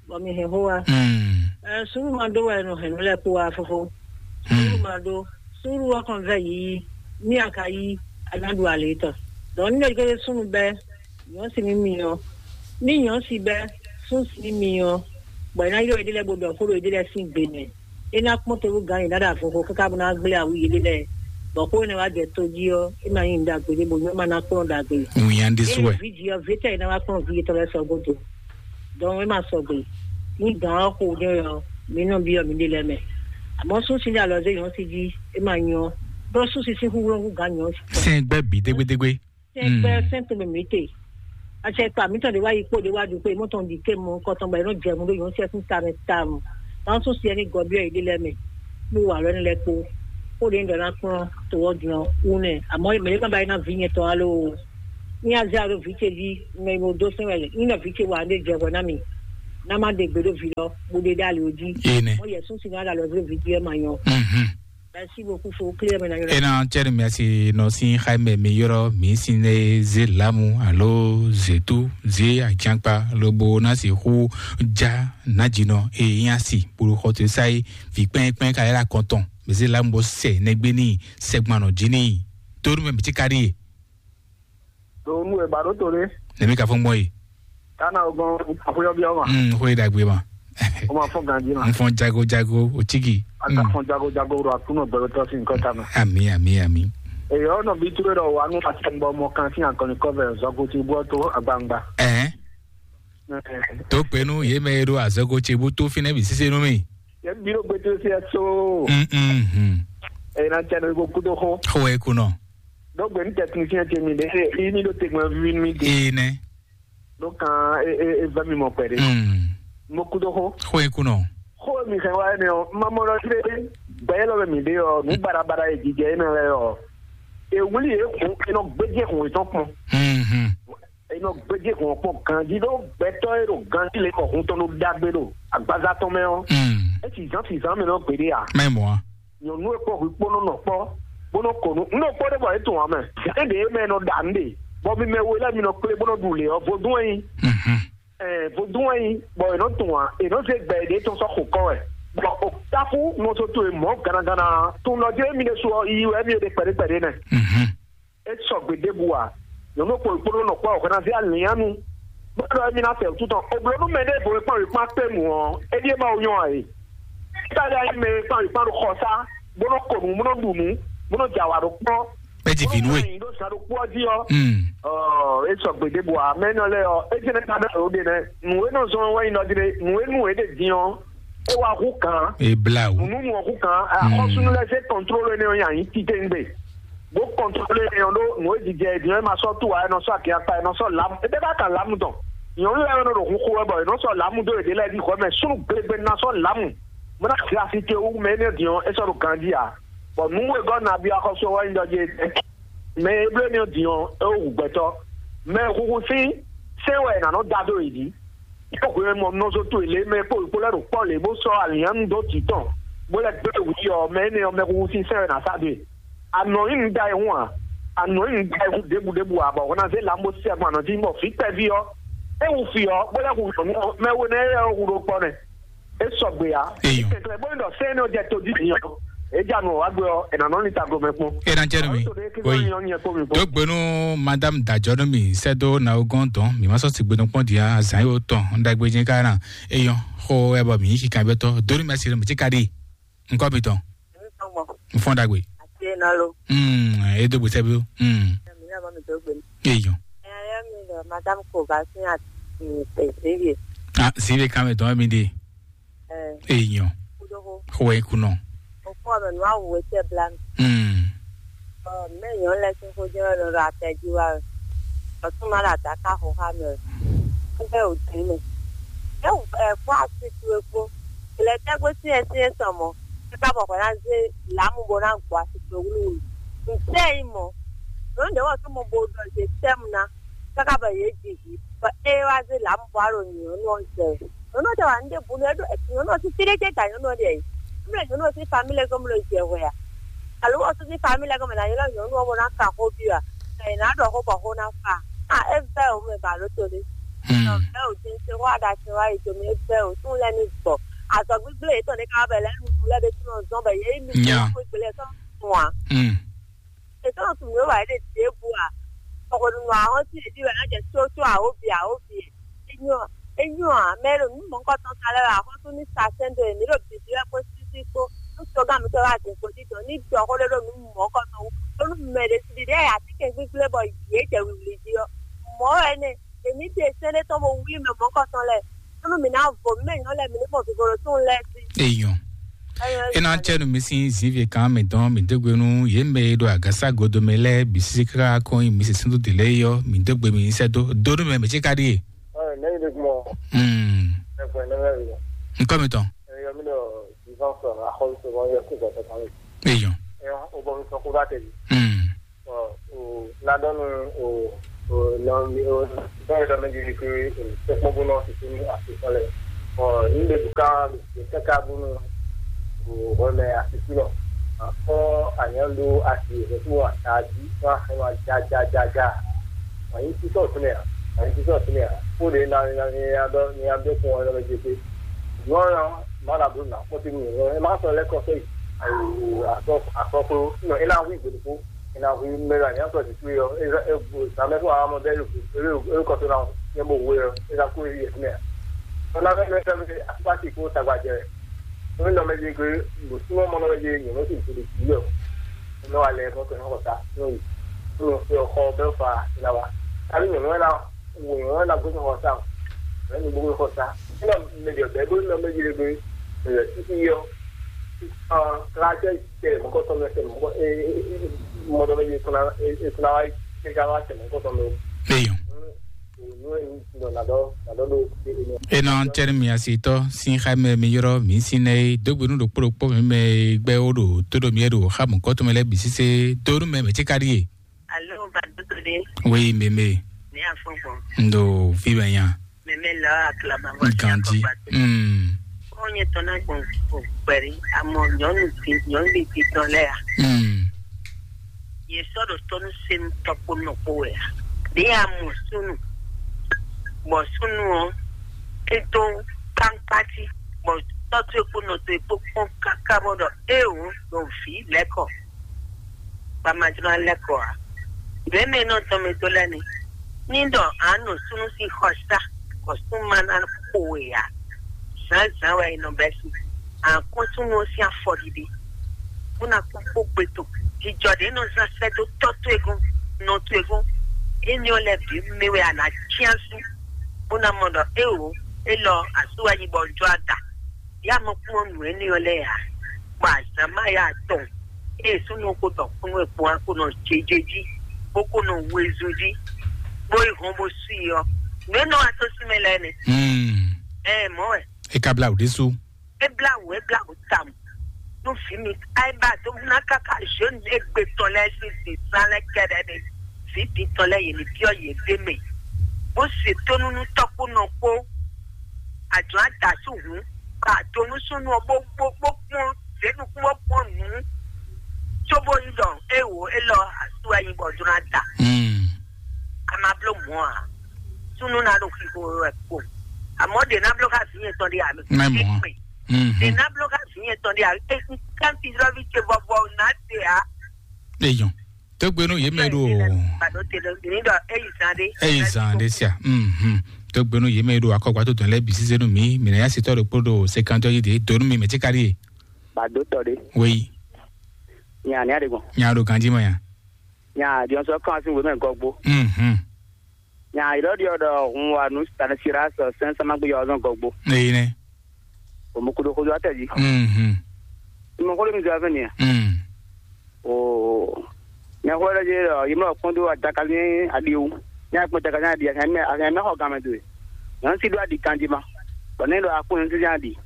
Bɔ mi hɛn xó wa. Mm. Ɛ, sùúrù máa dó wɛ nɔ hɛn nú lɛ kpó wa fófó. Sùúrù máa dó. Sùúrù wa kàn vɛ yìí. Ní a ka yí, a ná ɖu alě tɔn. Dɔn ní lè gbé súnnu bɛ, nyɔ̌ si ní mi ɔ. Ní nyɔ̌ si bɛ, sún si ní mi ɔ. Bɔ ɛ ná yɔ ìdílé gbogbo ɔ̀kúrò ìdílé sín gbè mɛ. É ná kpɔ́n tolú gǎn yě ná ɖo avɔxo káká bó ná gblé awu yěɖée lɛ́ɛ, bɔ xó énɛ́ wá jɛ tó jí ɔ́, é ma nyí nǔ ɖagbe ɖé bónú é ma ná kplɔ́n ɖagbe. Nǔnywɛ́ ɖésú wɛ. Vǐ jí ɔ́, vǐ tɛ́ è ná wá kplɔ́n vǐ yětɔn lɛ́ɛ sɔgbe do. Dɔn é ma sɔgbe. Ní gǎn ɔ́ xo ɖé ɔ́, mi nɔ byɔ́ mǐɖée lɛ́ɛ mɛ. Amɔ̌ sún sín alɔ zé nyɔ̌ sí jí, é ma nyɔ́. Bó sún sí sín xúxú nɔ hú gǎn nyɔ̌ sí. Sɛn gbɛ bǐ dégbédégbé. Sɛn gbɛ sɛn to mɛ mǐ te. Acɛ kpa mǐtɔn ɖe wá yi kpó ɖe wá ɖu kpé mɔtɔn ɖi ké mɔ kɔtɔn bɔ yě nɔ jɛ mu ɖó yǒn sɛ sín ta mɛ ta mɔ. Náà sún siɛ ní gɔbyɔ yě ɖe lɛ́ɛ mɛ. Ní wà lɔ ní lɛ́ kpó. Kó ɖe ní ɖɔ ná kplɔ́n to ɔ́ din ɔ́ wú nɛ. Àmọ́ mɛ ɖé má ba yi ná vǐ nyɛ tɔn alo. Ní azé alo vǐ ce jí mɛ mo dó sɛn wɛ ní nɔ vǐ ce wà ɖé jɛ hwɛ ná mi. Ná má ɖe gbe ɖó vǐ lɔ, bó ɖe ɖó ali jí. Ene. Mɔ yɛ sún si ná ɖo alɔ vǐ vǐ jí ɛ ma nyɔ. Mhm. Merci beaucoup, faut clear maintenant. Ena cɛri mɛsi nɔ sin xaimɛ mi yɔrɔ mi sin ne ze lamu alo zetu ze ajankpa lobo na si xu ja najinɔ e nya si bolo xɔtɔ sa yi vi kpɛn kpɛn ka yɛla kɔntɔn mi ze lamu bɔ sɛ nɛgbɛ ni sɛgbanɔ ji ni toru mɛ mi ti ka ɖi ye. Ɖo nú e ba ɖó to ɖé. Nɛmi ka fɔn gbɔn ye. Kana o gbɔn xwé ɔ́ biɔ ma. Mm, xwé ɖagbe ma. O ma fɔn ganji ma. N fɔn jago jago o tigi. A ka fɔn jago jago ɖo akunɔ gbɛgbɛtɔ si nǹkan ta ma. Ami ami ami. Èyí ɔ́ nɔ bí túwé ɖɔ wà nú àtẹ̀gbọ́ mɔ kan sín àkànní kɔ́vɛ zɔgo ti bú ɔ́ tó agbangba. Ɛhɛn. Tó pé nú yě mɛ e ɖo azɔgo ce bó tó fínɛ́ bǐ sísé nú mì. Yɛ biro gbete si ɛ so. Mm, mm, mm. Ena tɛ ne ko kudo xo. Xo e kunɔ. Donc ben technicien ce mi de yi mi do tegma vi mi de. Ee nɛ. Donc kan e e e va mi mo pere. Mm. Mo kudo xo. Xo e kunɔ. Xo mi xe wa ne o. Ma mo lo dire. Ba yelo mi de o. Nu bara bara e jije na le o. E wuli e ko e no gbeje ko e ton pon. Mm. Enɔ gbéjé hɔn kpɔn ganjí ɖó gbɛtɔ́ e ɖo ganjí lě kɔ hun tɔn ɖó ɖagbe ɖo agbaza tɔn mɛ ɔ́. Mm. É sizán sizán mɛ nɔ gbeɖé a? Mɛ mɔ a? Nyɔ̌nu e kpɔ́ hwi kpó nɔ nɔ kpɔ́ bó nɔ kɔ nú un nɔ kpɔ́ ɖé bɔ é tun ǎ mɛ. Zǎn ɖě mɛ nɔ ɖa nǔ ɖe, bɔ mi mɛ we lɛ́ɛ mi nɔ kplé bó nɔ ɖu lě ɔ́, vodún wɛ nyí. Mhm. Ɛɛ, vodún wɛ nyí, bɔ è nɔ tun ǎ, è nɔ zé gbɛ ɖě tɔn sɔ́ xo kɔ wɛ. Bɔ o táfú nɔ só towe mɔ̌ gannaganna, tun nɔ jlé mi ɖésú ɔ́, yiyi wɛ mi e ɖe kpɛɖé kpɛɖé nɛ. Mhm. É sɔgbe ɖěbǔ ǎ. Nyɔ̌nu kpɔ́ kpódó nɔ kpɔ́ hwɛnazí alǐnnyánu, bó ɖɔ émí ná fɛ wǔtu tɔn. Obló nú mɛ ɖěvo e kpán wěkpán kpé mǔ ɔ́, é ɖíe Mawu nyɔ́ ǎ e. Ítali ayí mɛ e kpán wěkpán ɖo xɔsá, bó nɔ́ ko nǔ, bó nɔ́ ɖu nǔ, bó nɔ́ jɛ awǎ ɖó kpɔ́, É ti vǐ nú we. Bó nɔ́ nɔ nyi ɖó zǎn ɖokpó ɔ́ jí ɔ́, Mm. Ɔ, é sɔgbe ɖěbǔ ǎ. Mɛ énɛ́ lɛ́ɛ ɔ́, é jɛ́n ká ɖɔ ɖě nɛ́. Nǔ e nɔ zɔ́n wɛ nyí nɔ jí ɖé, nǔ e nú é ɖe din ɔ́, é wá hú gǎn. É blá wǔ. Nǔnúnú ɔ́ hú gǎn. Mm. Axɔ́súnú lɛ́ɛ zé kɔntróló énɛ́ ɔ́ nyi ayǐ titewungbe. Bó kɔntrolé ɛ ɔ́ ɖó nǔ e jijɛ ɛ din ɔ́, é ma sɔ́ tuwa, é nɔ sɔ́ akin akpa, é nɔ sɔ́ lǎmu. É bɛ́ bá kan lǎmu tɔn. Nyɔ̌nu lɛ́ɛ nɔ ɖo hun xo wɛ bɔ è nɔ sɔ́ lǎmu dó yěɖée lɛ́ɛ jí hwɛ mɛ súnnu glegbenu ná sɔ́ lǎmu. Bó ná xi asi ce wú mɛ énɛ́ din ɔ́, é sɔ́ ɖo ganjí ǎ. Bɔ nǔ wegɔ́ nabí axɔ́sú ɔ́ wɛ nyí ɖɔ jí é tɛ́. Mɛ e bló énɛ́ din ɔ́, é wú hu gbɛtɔ́. Mɛ e huhu sín sɛ́n wɛ è nǎ nɔ da dó yě jí. Yě hwenu e mɔ nɔzo towe lě mɛ kpó wǐ kpó lɛ́ ɖo kpɔ́ lě bó sɔ́ alǐnnyánú dó jǐ tɔn, bó lɛ́ gbé wǔ yi ɔ́, mɛ énɛ́ ɔ́, mɛhuhu sín sɛ́n wɛ ná sá dó e. Anɔ̌ nyí nǔ ɖa e hún ǎ. Anɔ̌ nyí nǔ ɖa e hún ɖěbǔɖěbǔ ǎ, bɔ hwɛ ná zé lan bó sí agbɔn anɔ̌ jí, bɔ vǐ kpɛví ɔ́, é hu fí ɔ́, bó lɛ́ hu nyɔ̌nu ɔ́, mɛ we nɛ́ é hu ɖo kpɔ́ nɛ́. É sɔgbe ǎ. Eyɔn. Kɛnklɛ́n bónú ɖɔ sɛ́n énɛ́ ɔ́ jɛ todídì ɔ́, é ja nɔ wá gbé ɔ́, è nǎ nɔ ní taglomɛ kpɔ́n. É ná jẹ́ nú mi. Tó ɖé kí Oui. Sɔ́ nyɔ́ nyɛ kpó mi kpó. Dó gbenu madame dajɔ nú mi sɛ́ dó na ó gɔ́n dɔn mi má sɔ́ sigbe nukpɔ́n dia zǎn yóò tɔn un ɖagbe jɛn ká ná. Eyɔn xo ɛ bɔ mi yí kikan bɛ tɔ dó nú mi asi mi ti ka ɖi nkɔ mi tɔn. N fɔn ɖagbe. Ati ena lo. Mm, e dó gbèsè bí. Mm. Mi na ma mi dó gbé. Eyɔn. Ɛ ya mi dɔ madame ko ba sin a ti pe se ye. Ah, si be kan mi dɔn mi de. Ɛ. Eyɔn. Kudo ko. Xo e kunɔ. O ko me nua wo te blan. Mm. Ɔ, mɛ nyɔnu lɛ sin ko jɛ nɔ ɖo atɛ ji wa. Ɔ, tún ma la ta ka xo xa mɛ. Ku bɛ o din mɛ. Ɛ, ɛ, kó asi tu e kpó. Ilẹ̀ tẹ́gbẹ́ sí ẹ sí ẹ sàn mọ́. Ẹ ká bọ̀ kọ́ ná zé làámu bó ná gbọ́ àsìkò wúlúwúlú. Ǹjẹ́ ẹ yín mọ́? Ló ń dẹ́wọ́ tó mọ bó dọ̀ ṣe tẹ́mu ná. Káká bọ̀ yé jì yìí. Bọ̀ é wá zé làámu bó á lò nyì ọ́nú ọ̀jẹ̀. Ọ́nú ọ̀jẹ̀ wà ní débù ní ẹ̀dùn ẹ̀sìn ọ́nú ọ̀sìn fílẹ̀ jẹ́ gà ọ́nú ọ̀dẹ̀ yìí. Mí lè ọ́nú ọ̀sìn famílẹ̀ gọ́mọ lè jẹ wẹ̀ à. Àlùwọ̀ ọ̀sìn sí famílẹ̀ gọ́mọ là yẹn lọ́yìn ọ́nú ọmọ náà kà kó bí wa. Ẹ̀yìn náà dọ̀ kó bọ̀ kó náà fà. À, é bẹ́ òun ẹ̀ bà ló tó lé. Hmm. Ọ̀ bẹ́ òjé ṣe wá dá ṣe wá ètò mi é bẹ́ òtún lẹ́ni gbọ̀. Àtọ̀ gbígbélé yìí tọ̀ ní ká bẹ̀ lẹ́nu lẹ́bi tí wọ́n zọ́n bẹ̀ yé mi Nya. Kó ìgbélé tọ́ fún wa. Hmm. Ètò ọ̀tún mi ó wà ní dèbò à. Ọkọ̀ nínú àwọn tí èdè rẹ̀ náà jẹ́ tó tó àwòbí àwòbí. Enyɔ, enyɔ à, mɛ ɖo nú mɔ̌kɔtɔn sa lɛ́ wɛ axɔ́sú ní sa sɛ́n dó èmi ɖo bǐbí wɛ kpó sísí kpó. Nú tɔgán mi tɔ́ wá dín kpó dídɔn ní dɔ xó ɖé ɖo nú mɔ̌kɔtɔn wú. Ɖó nú mɛ ɖé sí ɖiɖi ɛ atínkɛn gbígbélé bɔ yě jɛ wlǐwlí jí ɔ́. Mɔ̌ wɛ nɛ, èmi ɖe sɛ́n ɖé tɔn bó wlí mɛ mɔ̌kɔtɔn lɛ́ɛ. Ɖó nú mǐ ná vo mɛ nyɔ̌ lɛ́ɛ mǐ ní mɔ vivo ɖo tún lɛ́ɛ sí. Eyɔn. Ena cɛnu mi sin zivi kan mi dɔn mi dégbe nu ye mɛ e ɖo agasa godo mɛ lɛ bisi kaka kɔn yi mi se sindu de lɛ yɔ mi dégbe mi sɛ do do nu mɛ mi tsi ka ɖi ye. Ɛ, ne yi de kuma. Hmm. Ɛ, fɛ ne bɛ yi. Nkɔ mi tɔn. Ɛ, yɔ mi dɔ vivant sɔ axɔlu sɔ yɔ kó gbɛtɔ kan mi. Eyɔn. Ɛ, o bɔ mi sɔ kó ba tɛ bi. Hmm. Ɔ, o ladɔnu o o nɔ mi o dɔn yɛ dɔ mi di ke o tɛkpɔn bo nɔ sisi ni asi sɔ lɛ. Ɔ, níɖe ɖo ká ɖo káká bónú ɖo hwɛmɛ asisínɔ. Akɔ anyǎ ɖó asi rɛ̌ fún ata jí fún axɔ́ jajajaja. Wǎnyí sísɔ fúnɛ ǎ, wǎnyí sísɔ fúnɛ ǎ. Kóɖe na na ni adɔ ni adɔ kún ɔ́ lɔ jete. Nyɔ̌ ɔ́ má ɖa bló nǎ kpɔ́ tɛ́ nú nyɔ̌ ɔ́, é má sɔ́ lɛ́ kɔ sɔ́ yi. Akɔ akɔklo nɔ é ná hu igbe ɖokpó. Ina hu mɛ la nya sɔ si tu yɔ. Eza e bu sa mɛ fún amɔ bɛ lu e lu e kɔtɔ na nyɛ bo hu yɔ. Eza ku yi yɛ mɛ. Ona mɛ mɛ fɛ mɛ akpa si ko tagba jɛ. Nɔ mɛ di ko bu suma mɔ nɔ mɛ di nyɔ nɔ si tu di yɔ. Nɔ alɛ mɔ kɛ nɔ kɔta nɔ yi. Nɔ fɛ xɔ bɛ fa ina wa. Abi nyɔ nɔ na wo nyɔ nɔ na gbɛsɛ xɔ sa. Nɔ ni gbɛsɛ xɔ sa. Ina mɛ di bɛ bo nɔ mɛ di ko. Ɛ titi yɔ. Ɔ kla jɛ tɛ mɔkɔtɔ mɛ tɛ mɔkɔ e e e mɔdɔ mɛ yi kuna e e kuna wa e ka wa tɛ mɔkɔtɔ mɛ. Eyɔn. Nɔ na dɔ na dɔ do e e nɔ. Enɔ tɛni mi asitɔ sin xa mɛ mi yɔrɔ mi sin nɛ dogbe nu ɖokpo ɖokpo mi mɛ gbɛ wo ɖo to ɖo mi ɖo xa mɔkɔtɔ mɛ lɛ bi sise donu mɛ mɛ ti ka ɖi ye. Alo, ba dodo de. Oui, meme. Ne afɔgbɔn. Ndo fi bɛ nya. Meme la aklama bɔ. Gandhi. Mm. Ó nyɛ tɔn náà gbɔn kó pɛ̀lú àmọ́ nyɔnu ti nyɔnu ti tɔn lɛ ya. Mm. Yɛ sɔ ɖo tɔnu senu tɔkpo nɔkpo wɛ ya. Ɖe ya mɔ sunu. Bɔ sunu ɔ, e dó kankpati. Bɔ tɔtu ekpo nɔtɔ ekpo kpɔn kaka bɔ ɖɔ e o ɖo vi lɛkɔ. Ba ma jló alɛ kɔ a? Ɖě mɛ nɔ tɔn mɛ dó lɛ́ɛ ni. Ní ɖɔ a nɔ súnú sín xɔ sá, bɔ súnnu ma ná xo we ǎ. Zǎnzǎn wɛ è nɔ bɛ́ sí. A kún súnnu ɔ́ sín afɔɖiɖi, bó ná kpɔ́n kpó gbe tɔn. Jijɔ ɖě nɔ zán sɛ́ dó tɔ́ towe gɔ́n, nɔ towe gɔ́n. Éní ɔ́ lɛ́ɛ bǐ mɛ wɛ a nǎ cyán sú, bó ná mɔ ɖɔ éeǒ, élɔ́ asú wɛ nyí bɔ un jɔ ada. Yá mɔ kpɔ́n nǔ énɛ́ ɔ́ lɛ́ɛ ǎ, bɔ azǎn má yá atɔn, ée súnnu ko tɔ kúnú e kpɔ́n ko nɔ jeje jí, bó ko nɔ wezun jí, bó yi hɔn bó sú i ɔ́, nǔ e nɔ wá tó sí mɛ lɛ́ɛ nɛ. Hmm. Ɛ mɔ̌ wɛ. E ka blá wǔ ɖésú. E blá wǔ, e blá wǔ tawun. Nú vǐ mi, ayé bá tó ná káká zhǒnu égbé tɔn lɛ́ɛ sín dǐsán lɛ́ɛ kɛ́ɖɛ́ nɛ. Vǐ din tɔn lɛ́ɛ yě ní byɔ́ yě ɖ'é mɛ, bó se tónú nú tɔ́kpónɔ kpó. Àjọ àdásù hǔn, bá àdó nú súnú ɔ́ bó bó bó kpɔ́n zěnukún bó kpɔ́n nǔ, cóbó nyí ɖɔ é wǒ élɔ́ asú wɛ nyí bɔ jló ná da. A ma bló mɔ̌ ǎ. Súnú ná ɖo xixo wɛ kpo. Àmọ́ ɖě ná bló xá vǐ nyɛ tɔn ɖé ǎ. Má mɔ̌ ǎ. Ɖě ná bló xá vǐ nyɛ tɔn ɖé ǎ. Kanti lɔ́ví ce bɔbɔ ná se ǎ. Eyɔn. Tógbénú yě mɛ ɖo. Eyi zan ɖe sia. Mhm. Tógbénú yě mɛ ɖo akɔgba tó dɔn lɛ bi sísé nú mi mi nà yá sitɔ ɖo kpó ɖo sekantɔ yi de donu mi mɛ tí kárí ye. Bado tɔ ɖe. Wéyi. Nya ní aɖe gbɔn. Nya ɖo ganji mɔ ya. Nya diɔnsɔ kan si wèmɛ gɔgbo. Mhm. Nya yi ɖɔ ɖiɔ ɖɔ hun wa nu stanisira sɔ sɛn sama gbé yɔ ɔzɔn gɔgbo. Eyi nɛ. O mo kudo kudo atɛ ji. Mhm. Mo kudo mi zɔ fɛn ya. Mm. O. Nya ko ɖe je ɖɔ yi mɔ kpɔn do adaka ni adi wu. Nya kpɔn adaka ni adi a kan mɛ a kan mɛ xɔ gamɛ do. Nya si do adi kanji ma. Bɔ ne ɖɔ akpɔ nya si adi.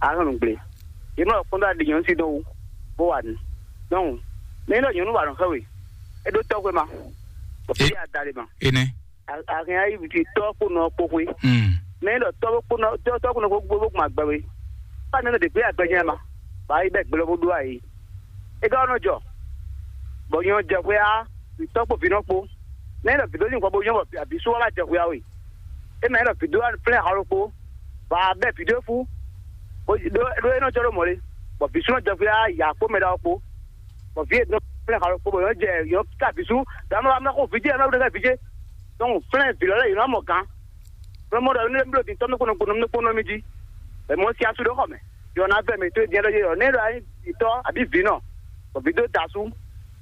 A kan nu gble. Yi mɔ kpɔn do adi nya si do wu. Bo wa nu. Donc, ne ɖɔ nyɔnu wa nɔ xɛ we. E ɖo tɔxwe ma. Bɔ fi adale ma. Ene. Ahɛn ayi viti tɔ kpo nɔ kpo xwe. Mm. Mɛ ɖɔ tɔ kpo nɔ tɔ tɔ kpo nɔ kpo gbogbo kuma gbɛ we. Fa nɛ de gbe agbɛjɛ ma. Ba yi bɛ gblɔ bo do ayi. E ka nɔ jɔ. Bɔ nyɔ jɛ xwe a, tɔ kpo vi nɔ kpo. Mɛ ɖɔ vi do ni kɔ bo nyɔ bɔ abi su wa jɛ xwe a we. E mɛ ɖɔ vi do flɛ halo kpo. Ba bɛ vi do fu. Do do e nɔ jɔ do mɔ le. Bɔ vi su nɔ jɛ xwe a ya kpo mɛ da kpo. Bɔ vi e do flɛ halo kpo bɔ nyɔ jɛ nyɔ ka vi su. Da ma ma ko vi je ma ɖo ka vi je. Donc flɛn vǐ lɔ lɛ́ɛ yě nɔ mɔ gǎn. Nɔ mɔ ɖɔ ne bló dintɔ́ mi kpɔnɔ kpɔnɔ mi kpɔnɔ mi jí. Bɛ mɔ si asu ɖó xɔ mɛ. Yɔ na vɛ mi tó diɛ ɖɔ yé yɔ ne ɖɔ ayi dintɔ́ àbí vǐ nɔ. Bɔ vǐ dó da asú.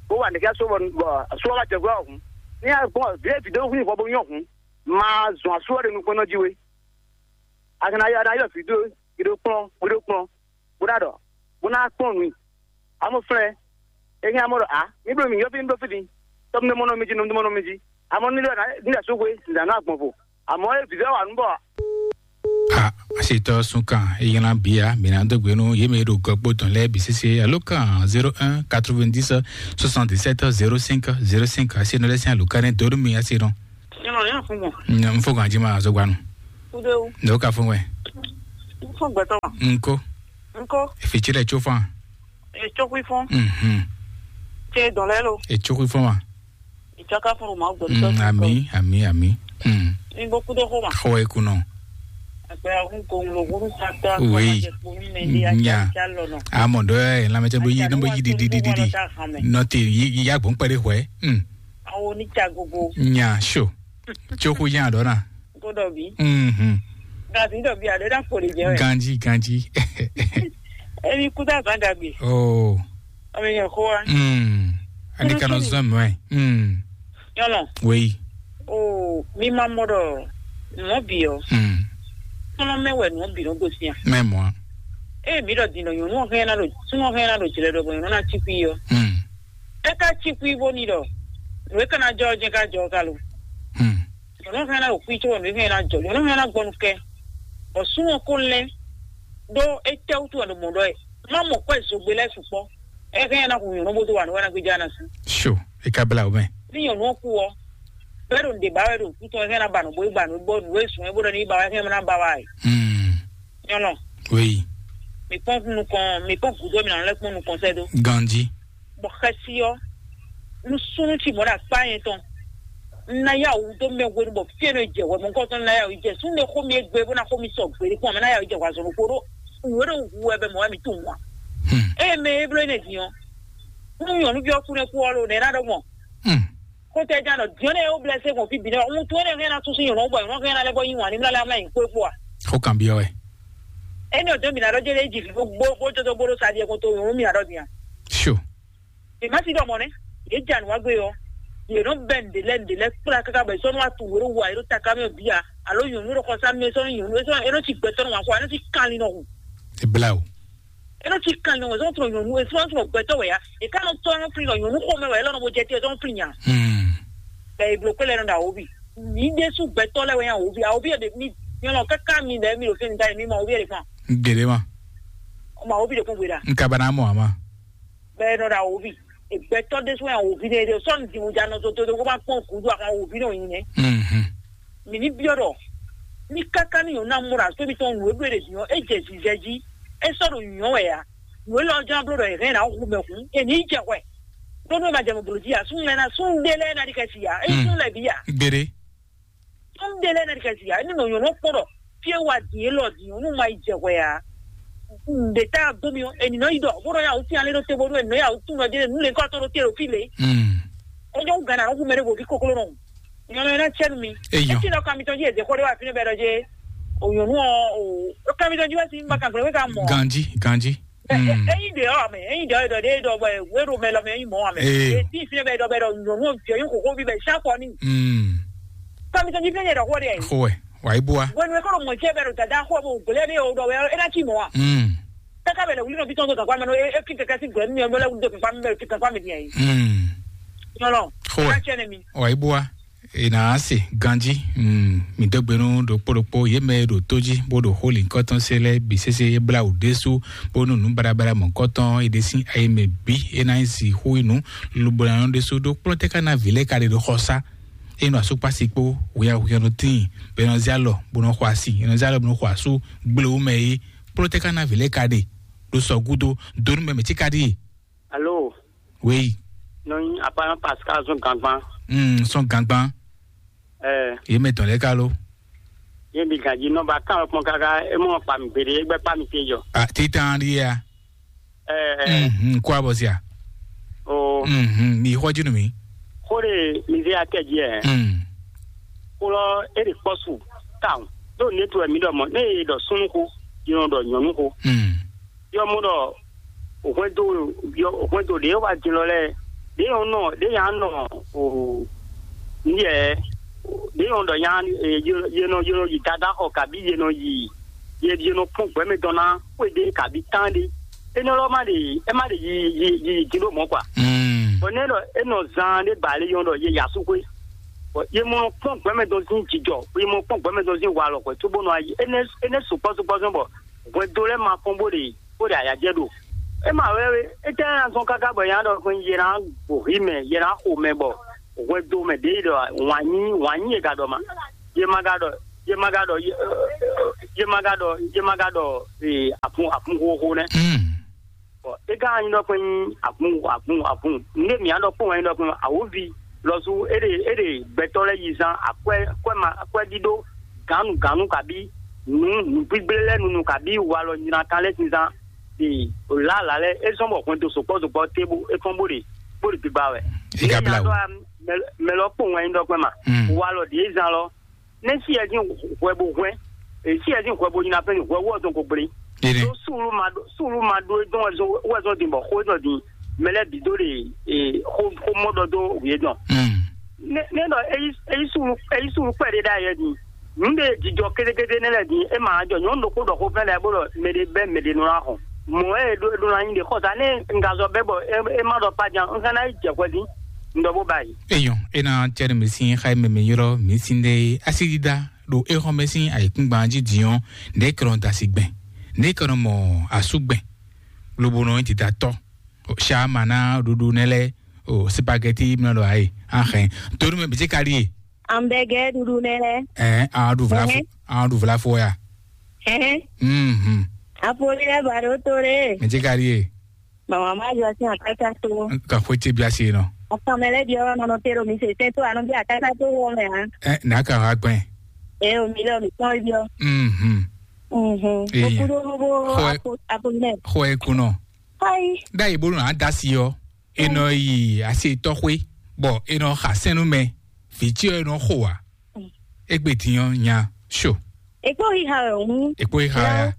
Bó wa nìkẹ́ asú bɔ bɔ asú wa jɛ gbɛ ɔ̀hún. Ní a gbɔn vǐ vǐ dó hu ìfɔ bó nyɔ hǔn. Ma zɔn asú wɛ ɖe nukpɔnɔ jí we. A kana yɔ na yɔ vǐ dó, vǐ dó kplɔn, vǐ dó kplɔn. Bó ná ɖɔ, bó ná kplɔn nǔ. Amɔ flɛ́, é hɛn amɔ ɖɔ a, mi bló mi yɔ́fí mi bló fí din, tɔ́ mi ɖó mɔ nɔ mi jí, nɔ mi ɖó mɔ nɔ mi jí. Amɔ ní lɛ ní lɛ sóxwe, nǐ dá nɔ agbɔn vo. Amɔ é vǐvɛ́ wa nǔ bɔ. A, asitɔ sunkan eylan bia mina dogbe nu yeme ɖo gɔkpo tɔn lɛ bi sese alo kan zéro un quatre-vingt-dix soixante-dix-sept zéro cinq zéro cinq asi nɔ lɛ sin aluka ne donu mi asi nɔ. Nyɔnɔ yɛn fún mɔ. N fo kan jima azogbanu. Kudewu. Ne o ka fún wɛ. Kpɔ́n gbɛtɔ́ ma. Nko. Nko. Efi tsi lɛ tso fan. Etsɔkui fɔn. Mhm. Tse dɔn lɛ lo. Etsɔkui fɔn ma. Etsɔka fɔn ma gbɔ. Mm, ami, ami, ami. Mm. Ni bo kudo xo ma. Xɔ ekunɔ. Akpɛ ahun ko ŋlo huru sata. Oui. Nya. Amɔ dɔ ɛ lamɛtɛ bo yi, no bo yi di di di di. Nɔ te yi, yi ya gbɔn kpɛ de xwɛ. Mm. Awo ni tsa gogo. Nya so. Tso xo nya dɔ na. Ko dɔ bi. Mhm. Gasi dɔ bi a de na ko de jɛ. Ganji, ganji. Emi kuta zan dagbe. Oh. Ɔmɛ yẹn xo wa. Mm. Ani kanɔ zɔn mɛ. Mm. Yɔlɔ. Oui. O mi ma mɔ dɔ nɔ bi ɔ. Mm. Kɔnɔ mɛ wɛ nɔ bi nɔ gosi yan. Mɛ mɔ. E mi dɔ di nɔ nyɔnu hɛn na do sunɔ hɛn na do jlɛ dɔ bɔ nyɔnu na ti kui ɔ. Mm. E ka ti kui bo ni dɔ. Nɔ e kana jɔ jɛ ka jɔ ka lo. Mm. Nyɔnu hɛn na o kui tso nɔ e hɛn na jɔ nyɔnu hɛn na gbɔnu kɛ. Bɔ sunɔ ko lɛ. Do e tɛ wutu wɛ do mɔ dɔ e. Ma mɔ kɔ e zogbe lɛ sukpɔ. E hɛn na kun nyɔnu bo do wa nɔ wɛ na gbeja na si. Sure. E ka bla o mɛ. Ni nyɔnu ɔ ku ɔ, bɛɛ ɖo nǔɖé ba wɛ ɖo kú tɔn hɛn ná ba nǔ bó yi ba nǔ bɔ nǔ e sùn é bó ɖɔ ní yi ba wɛ hɛn ná ba wá yi. Mm. Nyɔnɔ. Oui. Mi kpɔn nukɔn, mi kpɔn gǔdo mi nà lɛ kpɔn nukɔn sɛ dó. Ganji. Bɔ xɛsi ɔ, nu súnú ci mɔ ɖe akpá yẹn tɔn. N na yá wǔ dó mɛ hwenu bɔ fí e nɔ jɛ hwɛ mɔ̌hunkɔtɔn n na yá wǔ jɛ súnnu e xó mi e gbe bó ná xó mi sɔ gbe ɖé kpɔn mɛ ná yá wǔ jɛ hwɛ azɔn ɖokpó ɖó wǔ e ɖo hu wɛ bɛ mɔ wɛ mi tunwun a. Hmm. Eye mɛ e bló énɛ́ din ɔ́, nú nyɔ̌nuví ɔ́ kú nɛ́ kú ɔ́ lo nɛ̌ ná ɖɔ gbɔn? Hmm. Xótɛjánɔ diɔ́nɛ e wó blɛ́ sɛ́ gbɔn fí bǐ nɛ́ ɔ́, wuntun énɛ́ hɛn ná sú sín nyɔ̌nu gbɔ nyɔ̌nu hɛn ná lɛ́ bɔ yí wǎn ní mlá lɛ́ amlá nyi kpó é kpó a? Xó kanbyɔ́ wɛ. Énɛ́ ɔ́ dó mǐ ná ɖɔ jé lé jí vǐ bó bó jójó bó ɖó sa ɖiɛ kó tó nyɔ̌nu mǐ ná ɖɔ din a? Sure. Mǐ má sí ɖɔ mɔ̌ nɛ́, yě ja nǔ wá gbé ɔ́, yě nɔ bɛ́ nǔɖé lɛ́ɛ nǔɖé lɛ́ɛ kplá káká bɔ è sɔ́ nɔ wá tunwun wě ɖo wa è ɖo taká mɛ bǐ a? Alo nyɔ̌nu e ɖo xɔsá mɛ sɔ́ nyɔ̌nu e sɔ́ é nɔ cí gbɛtɔ́ nɔ wǎn xo a é nɔ cí kanlin nɔ hu. Ebla o. É nɔ cí kanlin nɔ wɛ sɔ́ tunɔ nyɔ̌nu e sɔ́ tunɔ gbɛtɔ́ wɛ ya. È ká nɔ tɔ́ nɔ flin nɔ nyɔ̌nu xomɛ wɛ é lɔ nɔ bo jɛ te sɔ́ flin nya. Hmm. Bɛ è bló kpé lɛ nɔ ɖo awǒvi. Mǐ ɖésú gbɛtɔ́ lɛ́ɛ wɛ nyí awǒvi. Awǒvi e ɖe mi nyɔlɔ káká mi lɛ́ɛ mi ɖo fínɛ́ ta e mi mɔ awǒvi e ɖe kpɔ́n. Gěɖé ma. Ọmọ awǒvi ɖe kpɔ́n gbe ɖa. N ka ba ná mɔ ǎ ma. Bɛ nɔ ɖo awǒvi. Gbɛtɔ́ ɖésú wɛ awǒvi ɖe ɖe sɔ́ nǔ din mo ja nɔ zozo kó má kpɔ́n gǔdo ahɔn awǒvi nɔ nyi nɛ́. Mhm. Mǐ ní byɔ́ ɖɔ ní káká ní nyɔ̌nu ná mɔ ɖo asú mitɔn nǔ e bló ɖe din ɔ́, é jɛ zizɛ jí, é sɔ́ ɖo nyɔ̌ wɛ ǎ. Nǔ élɔ́ ján bló ɖɔ è hɛn ná hu mɛ hǔn, è nǐ jɛ hwɛ. Ɖó nú è ma jɛ mɔ blǒ jí ǎ, súnnu lɛ́ɛ ná súnnu ɖé lɛ́ɛ ná ɖi xɛsi ǎ, é nyí súnnu lɛ́ɛ bǐ ǎ. Gbére. Súnnu ɖé lɛ́ɛ ná ɖi xɛsi ǎ, é ní nɔ nyɔ̌nu kpɔ́n ɖɔ fí e wa din élɔ́ din ɔ́, nú ma yi jɛ hwɛ ǎ. Nǔɖé tá a dó mi ɔ́, è nǐ nɔ yi ɖɔ bó nɔ ya wǔ sín alé ɖó te bónú è nǐ nɔ ya wǔ tún nɔ dé nǔ lě kɔ́ tó ɖó te ɖo fí lě. Mm. É nyɔ́ wú gǎn ná nɔ hu mɛ ɖé vo vǐ kokló nɔ. Nyɔnu ena tsɛ nu mi. Eyɔ. Eti nɔ kamitɔn ji eze xɔ ɖe wa fi ne bɛ ɖɔ je. O nyɔnu ɔ o kamitɔn ji wa si ma kan gblɛ ka mɔ. Ganji, ganji. Mm. Eyi de ɔ mɛ, eyi de ɔ dɔ de dɔ bɛ wero mɛ lɔ mɛ eyi mɔ wa mɛ. Ee. Eti fi ne bɛ dɔ bɛ dɔ nyɔnu ɔ fi yin koko bi bɛ sa kɔ ni. Mm. Kamitɔn ji fi ne dɔ xɔ de. Xɔ ɛ, wa yi bua. Wenu e kɔrɔ mɔ jɛ bɛ dɔ dada xɔ bo gblɛ ne o dɔ bɛ ena ci mɔ wa. Mm. Kaka bɛ lɛ wuli nɔ bi tɔn to gakwa mɛ no e fi kɛkɛ si gbɛ mi ɔ bɛ lɛ wuli de gakwa mi bɛ fi gakwa mi diɛ yi. Mm. Nyɔnɔ. Xɔ ɛ. Ena tsɛ ne mi. Wa yi bua. Ena se ganji. Mm, mi dó gbe nú ɖokpó ɖokpó yě mɛ e ɖo tó jí bó ɖo xó lǐnkɔ́tɔn se lɛ́ɛ bǐ sésé é blá wǔ ɖésú, bónú nǔ baɖabaɖa mɔ̌kɔtɔn e ɖe sín ayi mɛ bǐ é ná nyí sixú nyí nǔ. Lobo ná nɔ ɖésú ɖó kplɔ́n tɛ́ ká ná vǐ lɛ́ɛ ka ɖe ɖo xɔsá. É nɔ asúkpási kpó hwɛhwɛnú tíin, bɔ é nɔ zé alɔ bó nɔ xɔ asi, é nɔ zé alɔ bó nɔ xɔ asú gblewú mɛ é, kplɔ́n tɛ́ ká ná vǐ lɛ́ɛ ka ɖe ɖo sɔ gúdo, dó nú mɛ mɛ tí ka ɖíe. Alo. Oui. Nɔ nyi apa nɔ Pascal zɔn gangban. Mm, sɔn gangban. Ɛ. Ye mɛ tɔn lɛ ka lo. Ye bi ganji nɔ ba kan kpɔn kaka e mɔ kpa mi gbede e gbɛ kpa mi te jɔ. A titan di ya. Ɛ. Mm, mm, kwa bɔ sia. O. Mm, mm, mi xɔ jinu mi. Xo de mi ze akɛ jɛ. Mm. Xo lɔ e de kpɔsu. Kan. Do ne to mi dɔ mɔ ne e dɔ sunu ko. Yi nɔ dɔ nyɔnu ko. Mm. Yɔ mɔ dɔ hwɛndo yɔ hwɛndo ɖe wa din lɔ lɛ ɖe yɔ nɔ ɖe ya nɔ o yɛ ɖe yɔ dɔ ya ye nɔ ye nɔ yi dada xɔ kabi ye nɔ yi ye ye nɔ kpɔn gbɛmɛ dɔn na xwe ɖe kabi tan ɖe enɔ lɔ ma ɖe ɛ ma ɖe yi yi yi din ɖo mɔ kwa. Mm. Bɔn ne lɔ enɔ zan ɖe ba le yɔ dɔ ye yasu xwe bɔn ye mɔ kpɔn gbɛmɛ dɔn sin jijɔ ye mɔ kpɔn gbɛmɛ dɔn sin walɔ xwe tó bó nɔ ayi ene ene sukpɔ sukpɔ sɔn bɔ hwɛndo lɛ ma kpɔn bó ɖe bó ɖe ayajɛ ɖo. E ma wɛ wɛ, e tɛ na zɔn kaka bɔ nya ɖɔ hwɛ ye na gbo hi mɛ ye na xo mɛ bɔ hwɛndo mɛ ɖe yi ɖɔ wanyi wanyi ye ga ɖɔ ma ye ma ga ɖɔ ye ma ga ɖɔ ye jé má ka ɖɔ jé má ka ɖɔ ee, àfun àfun xóxó nɛ́. Mm. Bɔ é ka nyí ɖɔ kpɛ́n nyí àfun àfun àfun. Nǔɖé mǐ á ɖɔ kpɔ́n wɛ nyí ɖɔ kpɛ́n awǒvi lɔsú é ɖe é ɖe gbɛtɔ́ lɛ́ɛ yi zán akwɛ́ akwɛ́ ma akwɛ́ ɖíɖó gǎnnu gǎnnu kabí nǔ nǔgbígblé lɛ́ɛ nunu kabí walɔ nyina kan lɛ́ɛ sin zán. Ee, lǎlǎ lɛ́ɛ é zɔ́n bɔ hwɛndo sukpɔ́ sukpɔ́ tébu é kɔn bó ɖe bó ɖe gbigba wɛ. É ka blá wǔ. Mɛ lɔ kpɔ́n wɛ nyí ɖɔ kpɛ́n ma. Mm. Walɔ ɖě zán lɔ ne si yɛ dín hwɛ bo hwɛ e si yɛ dín hwɛ bo nyina fɛn hwɛ wɔ zɔn ko gblé. Ene. Tó sùúrù ma ɖó sùúrù ma ɖó e dɔn wɛ zɔn wɛ zɔn dín bɔ xó e zɔn dín mɛ lɛ bǐ dó ɖe e xó xó mɔ ɖɔ dó wǐ e dɔn. Mm. Ne ne ɖɔ eyi eyi sùúrù eyi sùúrù kpɛ ɖé ɖa yɛ dín nu ɖe jijɔ kétékété ne lɛ dín e ma jɔ nyɔnu ɖokpó ɖɔ xó fɛn lɛ bó ɖɔ mɛ ɖé bɛ mɛ ɖé nɔ la xɔ mɔ e ɖó ɖó la nyi ɖe xɔsa ne n ka zɔ bɛ bɔ e ma ɖɔ pa jan n ka na yi jɛ hwɛ dín n ɖɔ bó ba yi. Eyɔn, ena cɛɖɛ mɛ sín xa mɛ mɛ ylɔ mí sín ɖe asídídá ɖo éxɔmɛ sín ayǐkúngban jí diɔn, ɖě kɛnɔ da asi gbɛn, ɖě kɛnɔ mɔ asú gbɛn, lobo nɔ nyi dida tɔ. Sha ma ná ɖuɖu nɛ lɛ o spaghetti mlɔ ɖo ayi axɛ. Torí mɛ bìtí ka ɖi ye. Ambɛgɛ ɖuɖu nɛ lɛ. Ɛ an ɖu vla fo Ɛhɛn. An ɖu vla fo ya. Ɛhɛn. Mhm. Apoli lɛ ba ɖo to ɖe. Mɛ ti ka ɖi ye. Mama ma yɔ sin akaka to. Ka xwe ce bia se nɔ. Ọkàn mɛ lɛ bi ọ̀rọ̀ nɔnɔ tero mi se tẹ to anọ bi akaka to wọ mɛ ha. Ɛ n'a ka ha gbɛn. E o mi lɛ o mi kpɔn bi ọ. Mhm. Mhm. Eya. Okudo bo Xɔ ɛ- apo apo nɛ. Xɔ ɛ kunɔ. Ayi. Da yi bolo na da si yɔ. E nɔ yi asi tɔxwe. Bɔ e nɔ xa sɛnnu mɛ. Viti yɔ e nɔ xo wa. Egbe din ɔ nya so. Ekpo yi ha wɛ o. Ekpo yi ha ya.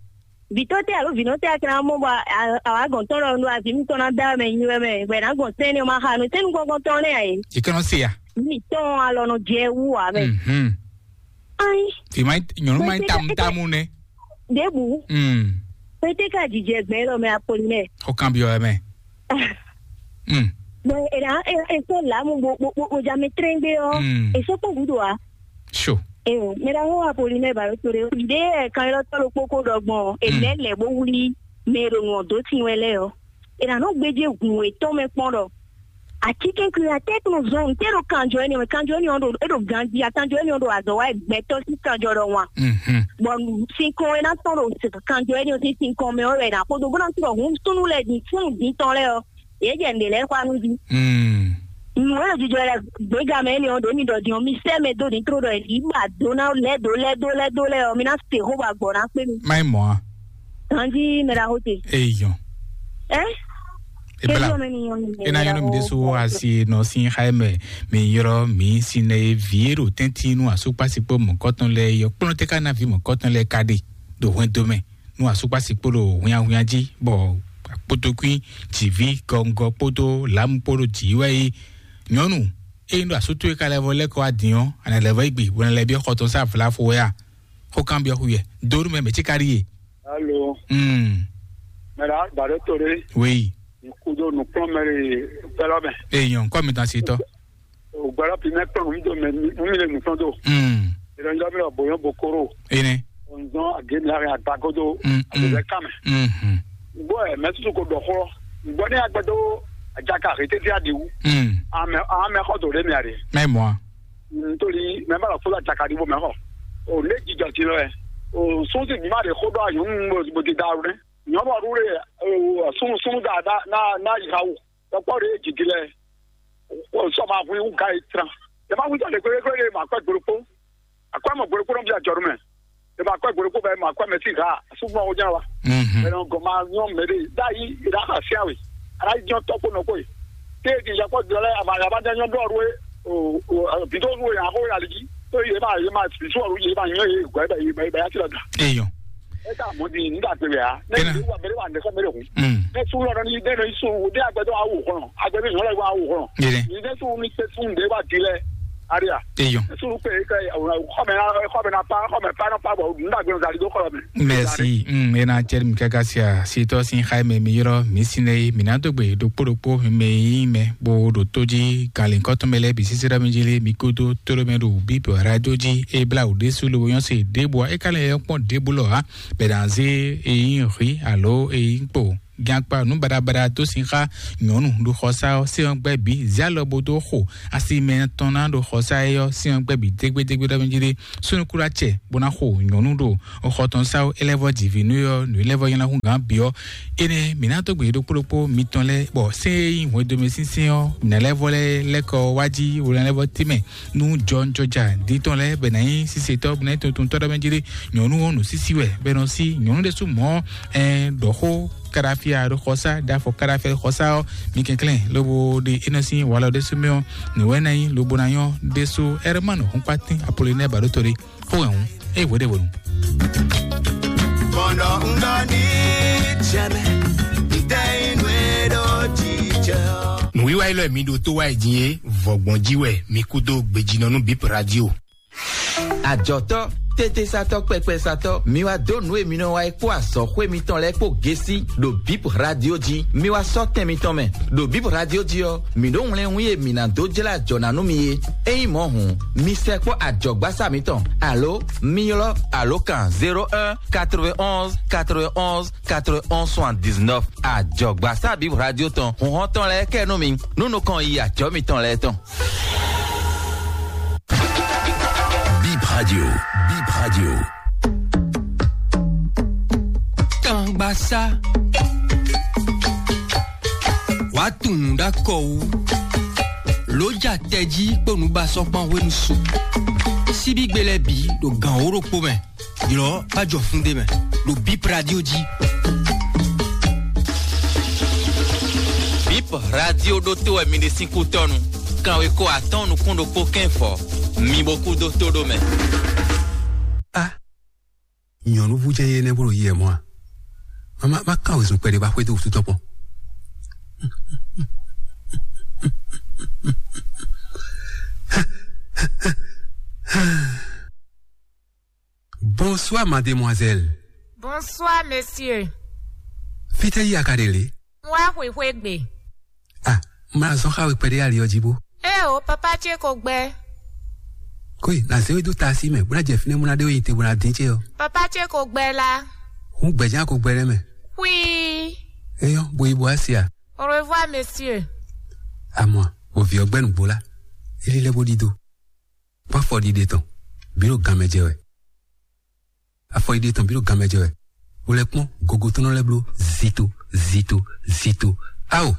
Vitɔ tɛ alo vinɔ tɛ akɛnɛ amɔ bɔ awa gɔn tɔn lɔ nu avi mi tɔn na da mɛ nyi wɛ mɛ bɛ na gɔn sɛnɛ ma ha no sɛnɛ gɔngɔn tɔn lɛ ayi. Yi kɛnɛ se ya. Mi tɔn alɔ nɔ jɛ wu wa mɛ. Mhm. Ayi. Fi ma nyɔnu ma tamu tamu nɛ. Debu. Mm. Pete ka jijɛ gbɛ lɔ mɛ apolinaire. O kan bi wɛ mɛ. Mm. Bon, e na e e so la mu bo bo bo bo ja mi trengbe o. Mm. E so ko gudo a. Sure. E o, me da ho apolinaire ba to de. De e kan lo to lo kpoko dɔgbɔn. E Mm. Lɛ lɛ bo wuli. Me ro no do tin wɛ lɛ o. E na no gbeje gun e tɔn mɛ kpɔn dɔ. Ati kɛnkɛn ya tɛ tun zɔn te ɖo kanjɔ ɛni mɛ kanjɔ ɛni ɔn ɖo e ɖo ganji akanjɔ ɛni ɔn ɖo azɔ wa gbɛtɔ si kanjɔ ɖɔ wan. Mhm. Bɔ sinkɔn e na tɔn ɖo kanjɔ ɛni ɔn si sinkɔn mɛ ɔ wɛ na kodo bó na tún ɖɔ hun sunu lɛ di fún di tɔn lɛ ɔ ye jɛ nde lɛ xɔ anu di. Mm. Nu e jijɔ lɛ gbega mɛ ɛni ɔn ɖo mi ɖɔ di ɔn mi sɛ mɛ do di tro ɖɔ yi ba do na lɛ do lɛ do lɛ do lɛ ɔ mi na se xo ba gbɔ na kpe mi. Mai mɔ a. Ganji mɛ da ho te. Eyɔn. Ɛ. Ebla. Ena yɔnɔ mi de so asi nɔ sin xaye mɛ mi yɔrɔ mi sin ne vie ɖo tɛntin nu asukpasi kpó mɔkɔtɔn lɛ yɔ kplɔn tɛ ka na vi mɔkɔtɔn lɛ ka ɖe ɖo hwɛndo mɛ nu asukpasi kpó ɖo hwinhwinha jí bɔ kpótókwín jìví gɔngɔ kpódó lǎmu kpó ɖo jǐ wɛ yi nyɔnu eye ɖo asútó e ka lɛ vɔ lɛkɔ adin ɔ ana lɛ vɔ igbe bɔ na lɛ biɔ xɔtɔn sa vlafo wɛ a xó kan biɔ xuyɛ donu mɛ mɛ tí ka ɖi ye. Alo. Hmm. Mɛ la gbàdé tòde. Oui. Kudo nukplɔn mɛ le fɛlɔ mɛ. Èèyàn kọ́ mi tán sí tọ́. Ògbọ́dọ̀ fi mẹ́ kplɔn mi do mɛ mi le nukplɔn do. Hmm. Ìrọ̀lẹ́ mi lọ bòyán bokoro. Ene. Ònzɔn àgémi àrẹ àgbàgodo. Hmm. Àgbẹ̀bẹ̀ kàmẹ́. Hmm. Gbọ́ ẹ̀ mẹ́tútù kò dọ̀kọ́. Gbọ́ ní agbẹ́dọ́ àjàkà àrètí tí a dì wú. Hmm. Àmẹ́ àmẹ́ kọ́ tòde mi àrè. Mẹ́ mọ́ a. Nítorí mẹ́ bá lọ fún àjàkà dìbò mẹ́ kọ́. Ò ní jíjọ ti lọ ẹ̀. Ò sún sì bí má lè kó dọ́ àyùn ń bò ti dá rú dẹ́. Nyɔbɔ ɖu ɖe sunnu sunnu da da na na yi ha wu. Kpɔkpɔ ɖe jiji lɛ. Sɔ ma hu iwu ga yi tran. Yɛ ma hu jɔ le gbegbe ɖe ma kpɛ gbolo kpo. Akɔ mɔ gbolo kpo nɔ bi ajɔ ɖu mɛ. Yɛ ma kpɛ gbolo kpo bɛ ma kpɛ mɛ si ha. Sugbɔ wo nya wa. Mhm. Bɛ nɔ gɔ ma nyɔ mɛ de da yi da ha sia we. Ala yi jɔ tɔ kpo nɔ ko yi. Te di yakɔ jɔ lɛ ama yaba da nyɔ dɔ ru e. O o bi do ru e ya ko ya li ji. To ye ma ye ma bi so ru ye ma nyɔ ye gɔ bɛ ye ma ya ti la da. Eyɔn. E ka mɔ di n da gbe ya. Ne Ena. Ye wa bere wa ne ko mere hu. Mm. Ne su lɔ ni de no su de agbe do awu kono. Agbe bi nyɔ le wa awu kono. Yele. Ni de su ni se su de wa di le. Aria. Eyɔn. Su pe ke xɔmɛ na xɔmɛ na pa xɔmɛ pa na pa bɔ n da gbe zali do kɔlɔ mɛ. Merci. Mm, ena cɛri mi kaka sia sitɔ sin xaye mɛ mi yɔrɔ mi sine mi na dogbe ɖokpo ɖokpo mi yi mɛ bo ɖo to ji galinkɔtɔn mɛ lɛ bi sisi ɖe mi ji li mi kodo to ɖe mɛ ɖo bibi radio ji e bla o ɖesu lo yɔn se ɖebo e ka lɛ yɔ kpɔn ɖebo lɔ ha bɛ na ze e yin ri alo e yin kpo Gankpa nǔ baɖabaɖa dó sin xá nyɔ̌nu ɖo xɔsá ɔ́, sɛ́n ɔ́ gbɛ́ bǐ zé alɔ bó dó xo asi mɛ tɔn ná ɖo xɔsá é ɔ́, sɛ́n ɔ́ gbɛ́ bǐ dégbédégbé ɖɔ mɛ jí ɖé. Súnnu kúɖá cɛ bó ná xo nyɔ̌nu ɖo xɔ tɔn sá ó, é lɛ́ vɔ́ ji vǐ nú é ɔ́, nǔ é lɛ́ vɔ́ nyí ná hú gǎn bǐ ɔ́, énɛ́ mǐ ná dó gbe ɖokpó ɖokpó mitɔn lɛ́ɛ, bɔ sɛ́n e nyí hwɛndo mɛ sínsɛ́n ɔ́, mǐ ná lɛ́ vɔ́ lɛ́ lɛ́ kɔ wá jí, wo ná lɛ́ vɔ́ tɛ́nmɛ nú jɔnjɔja ɖi tɔn lɛ́ɛ bɛ ná nyí sisetɔ bɛ ná nyí tuntuntɔ ɖɔ mɛ jí ɖé. Nyɔ̌nu ɔ́ nǔ sísí wɛ bɛ nɔ sí nyɔ̌nu ɖésú mɔ̌ ɛ ɖɔ xó kadafia ɖo xɔsá ɖafɔ kadafia ɖo xɔsá ɔ́, mi kɛnklɛ́n lobo ɖe é nɔ sín walɔ ɖésú mɛ ɔ́, nǔ wɛ ná nyí lobo ná nyɔ́ ɖésú. Ɛrɛmánu húnkpátín Apolinɛ́ɛ baɖótó ɖé xó hɛn hǔn é hweɖéwonu. Bɔnɔ ŋgɔ ní jɛmɛ ntɛ inú e ɖo jíjɛ ɔ. Nǔwiwa élɔ́ e mi ɖo tó wá yi din é, vɔ̌gbɔn jí wɛ mi kú dó gbejínɔ nú Bip Radio. Ajɔ̌tɔ́, tétésatɔ́, kpɛkpɛsatɔ́, mi wá dó nǔ e mi nɔ wa é kpó azɔ̌xwé mitɔn lɛ́ɛ kpó gésí ɖo Bip Radio jí. Mi wá sɔ́ tɛn mitɔn mɛ. Ɖo Bip Radio jí ɔ́, mǐ ɖó wlɛ́nwún e mǐ ná dó jlá ajɔ̌ ná nú mi é. Ényí mɔ̌ hǔn, mi sɛkpɔ́ ajɔ̌gbásá mitɔn, alo mi ylɔ́ alǒkan zéro un quatre-vingt-onze quatre-vingt-onze quatre-vingt-onze soixante-dix-neuf. Ajɔ̌gbásá Bip Radio tɔn, hǔnhɔ́n tɔn lɛ́ɛ kɛ nú mi, nú nukɔn yi ajɔ̌ mitɔn lɛ́ɛ tɔn. Bip Radio, Bip Radio. Kangbasa. Wàá tunwun ɖó akɔ wú. Lǒ ja tɛjí kpó nǔbasɔ́kpán hwenu su. Síbígbe lɛ́ɛ bǐ ɖo gǎn wó ɖokpó mɛ. Ylɔ̌ bá jɔ fún ɖé mɛ ɖo Bip Radio jí. Bip Radio ɖótó wɛ mi ɖe sín kútɔ́nu. Kanweko atɔ́ɔ́n nukún ɖokpó kɛ́n fɔ̌. Mi bo kú dó tó ɖó mɛ. A, nyɔ̌núvú jɛ́n yé nɛ́ bó ɖo yi wɛ mɔ̌ a? Má má má kán wezun kpɛɖé bá xwedó wútu tɔn kpɔn. Bonsoir, mademoiselle. Bonsoir, monsieur. Fítɛ́ yí a ka ɖe lě? Wá xwixwé gbe. Ah, má zɔn xá we kpɛɖé ali ɔ́ jí bó. Ée o, papa ce ko gbɛ. Kóe, nà zé we dó taasi mɛ, bó ná jɛ fínɛ́, bó ná ɖe we nyi te, bó ná dín ce ɔ́. Papa ce ko gbɛ la. Hún gbɛ̌ján ko gbɛ nɛ́ mɛ. Xwii. Éyɔ́, bo yi bo wá se a? Au revoir, monsieur. Amɔ, bɔ vǐ ɔ́ gbɛ́ nǔgbó lá. É lílɛ́ bó ɖidó. Kpɔ́ afɔɖiɖe tɔn, bǐ ɖo ganmɛ jɛ wɛ. Afɔɖiɖe tɔn bǐ ɖo ganmɛ jɛ wɛ. Wo lɛ́ kpɔ́n gogo tɔn nɔ lɛ́ bló zito, zito, zito. Ao,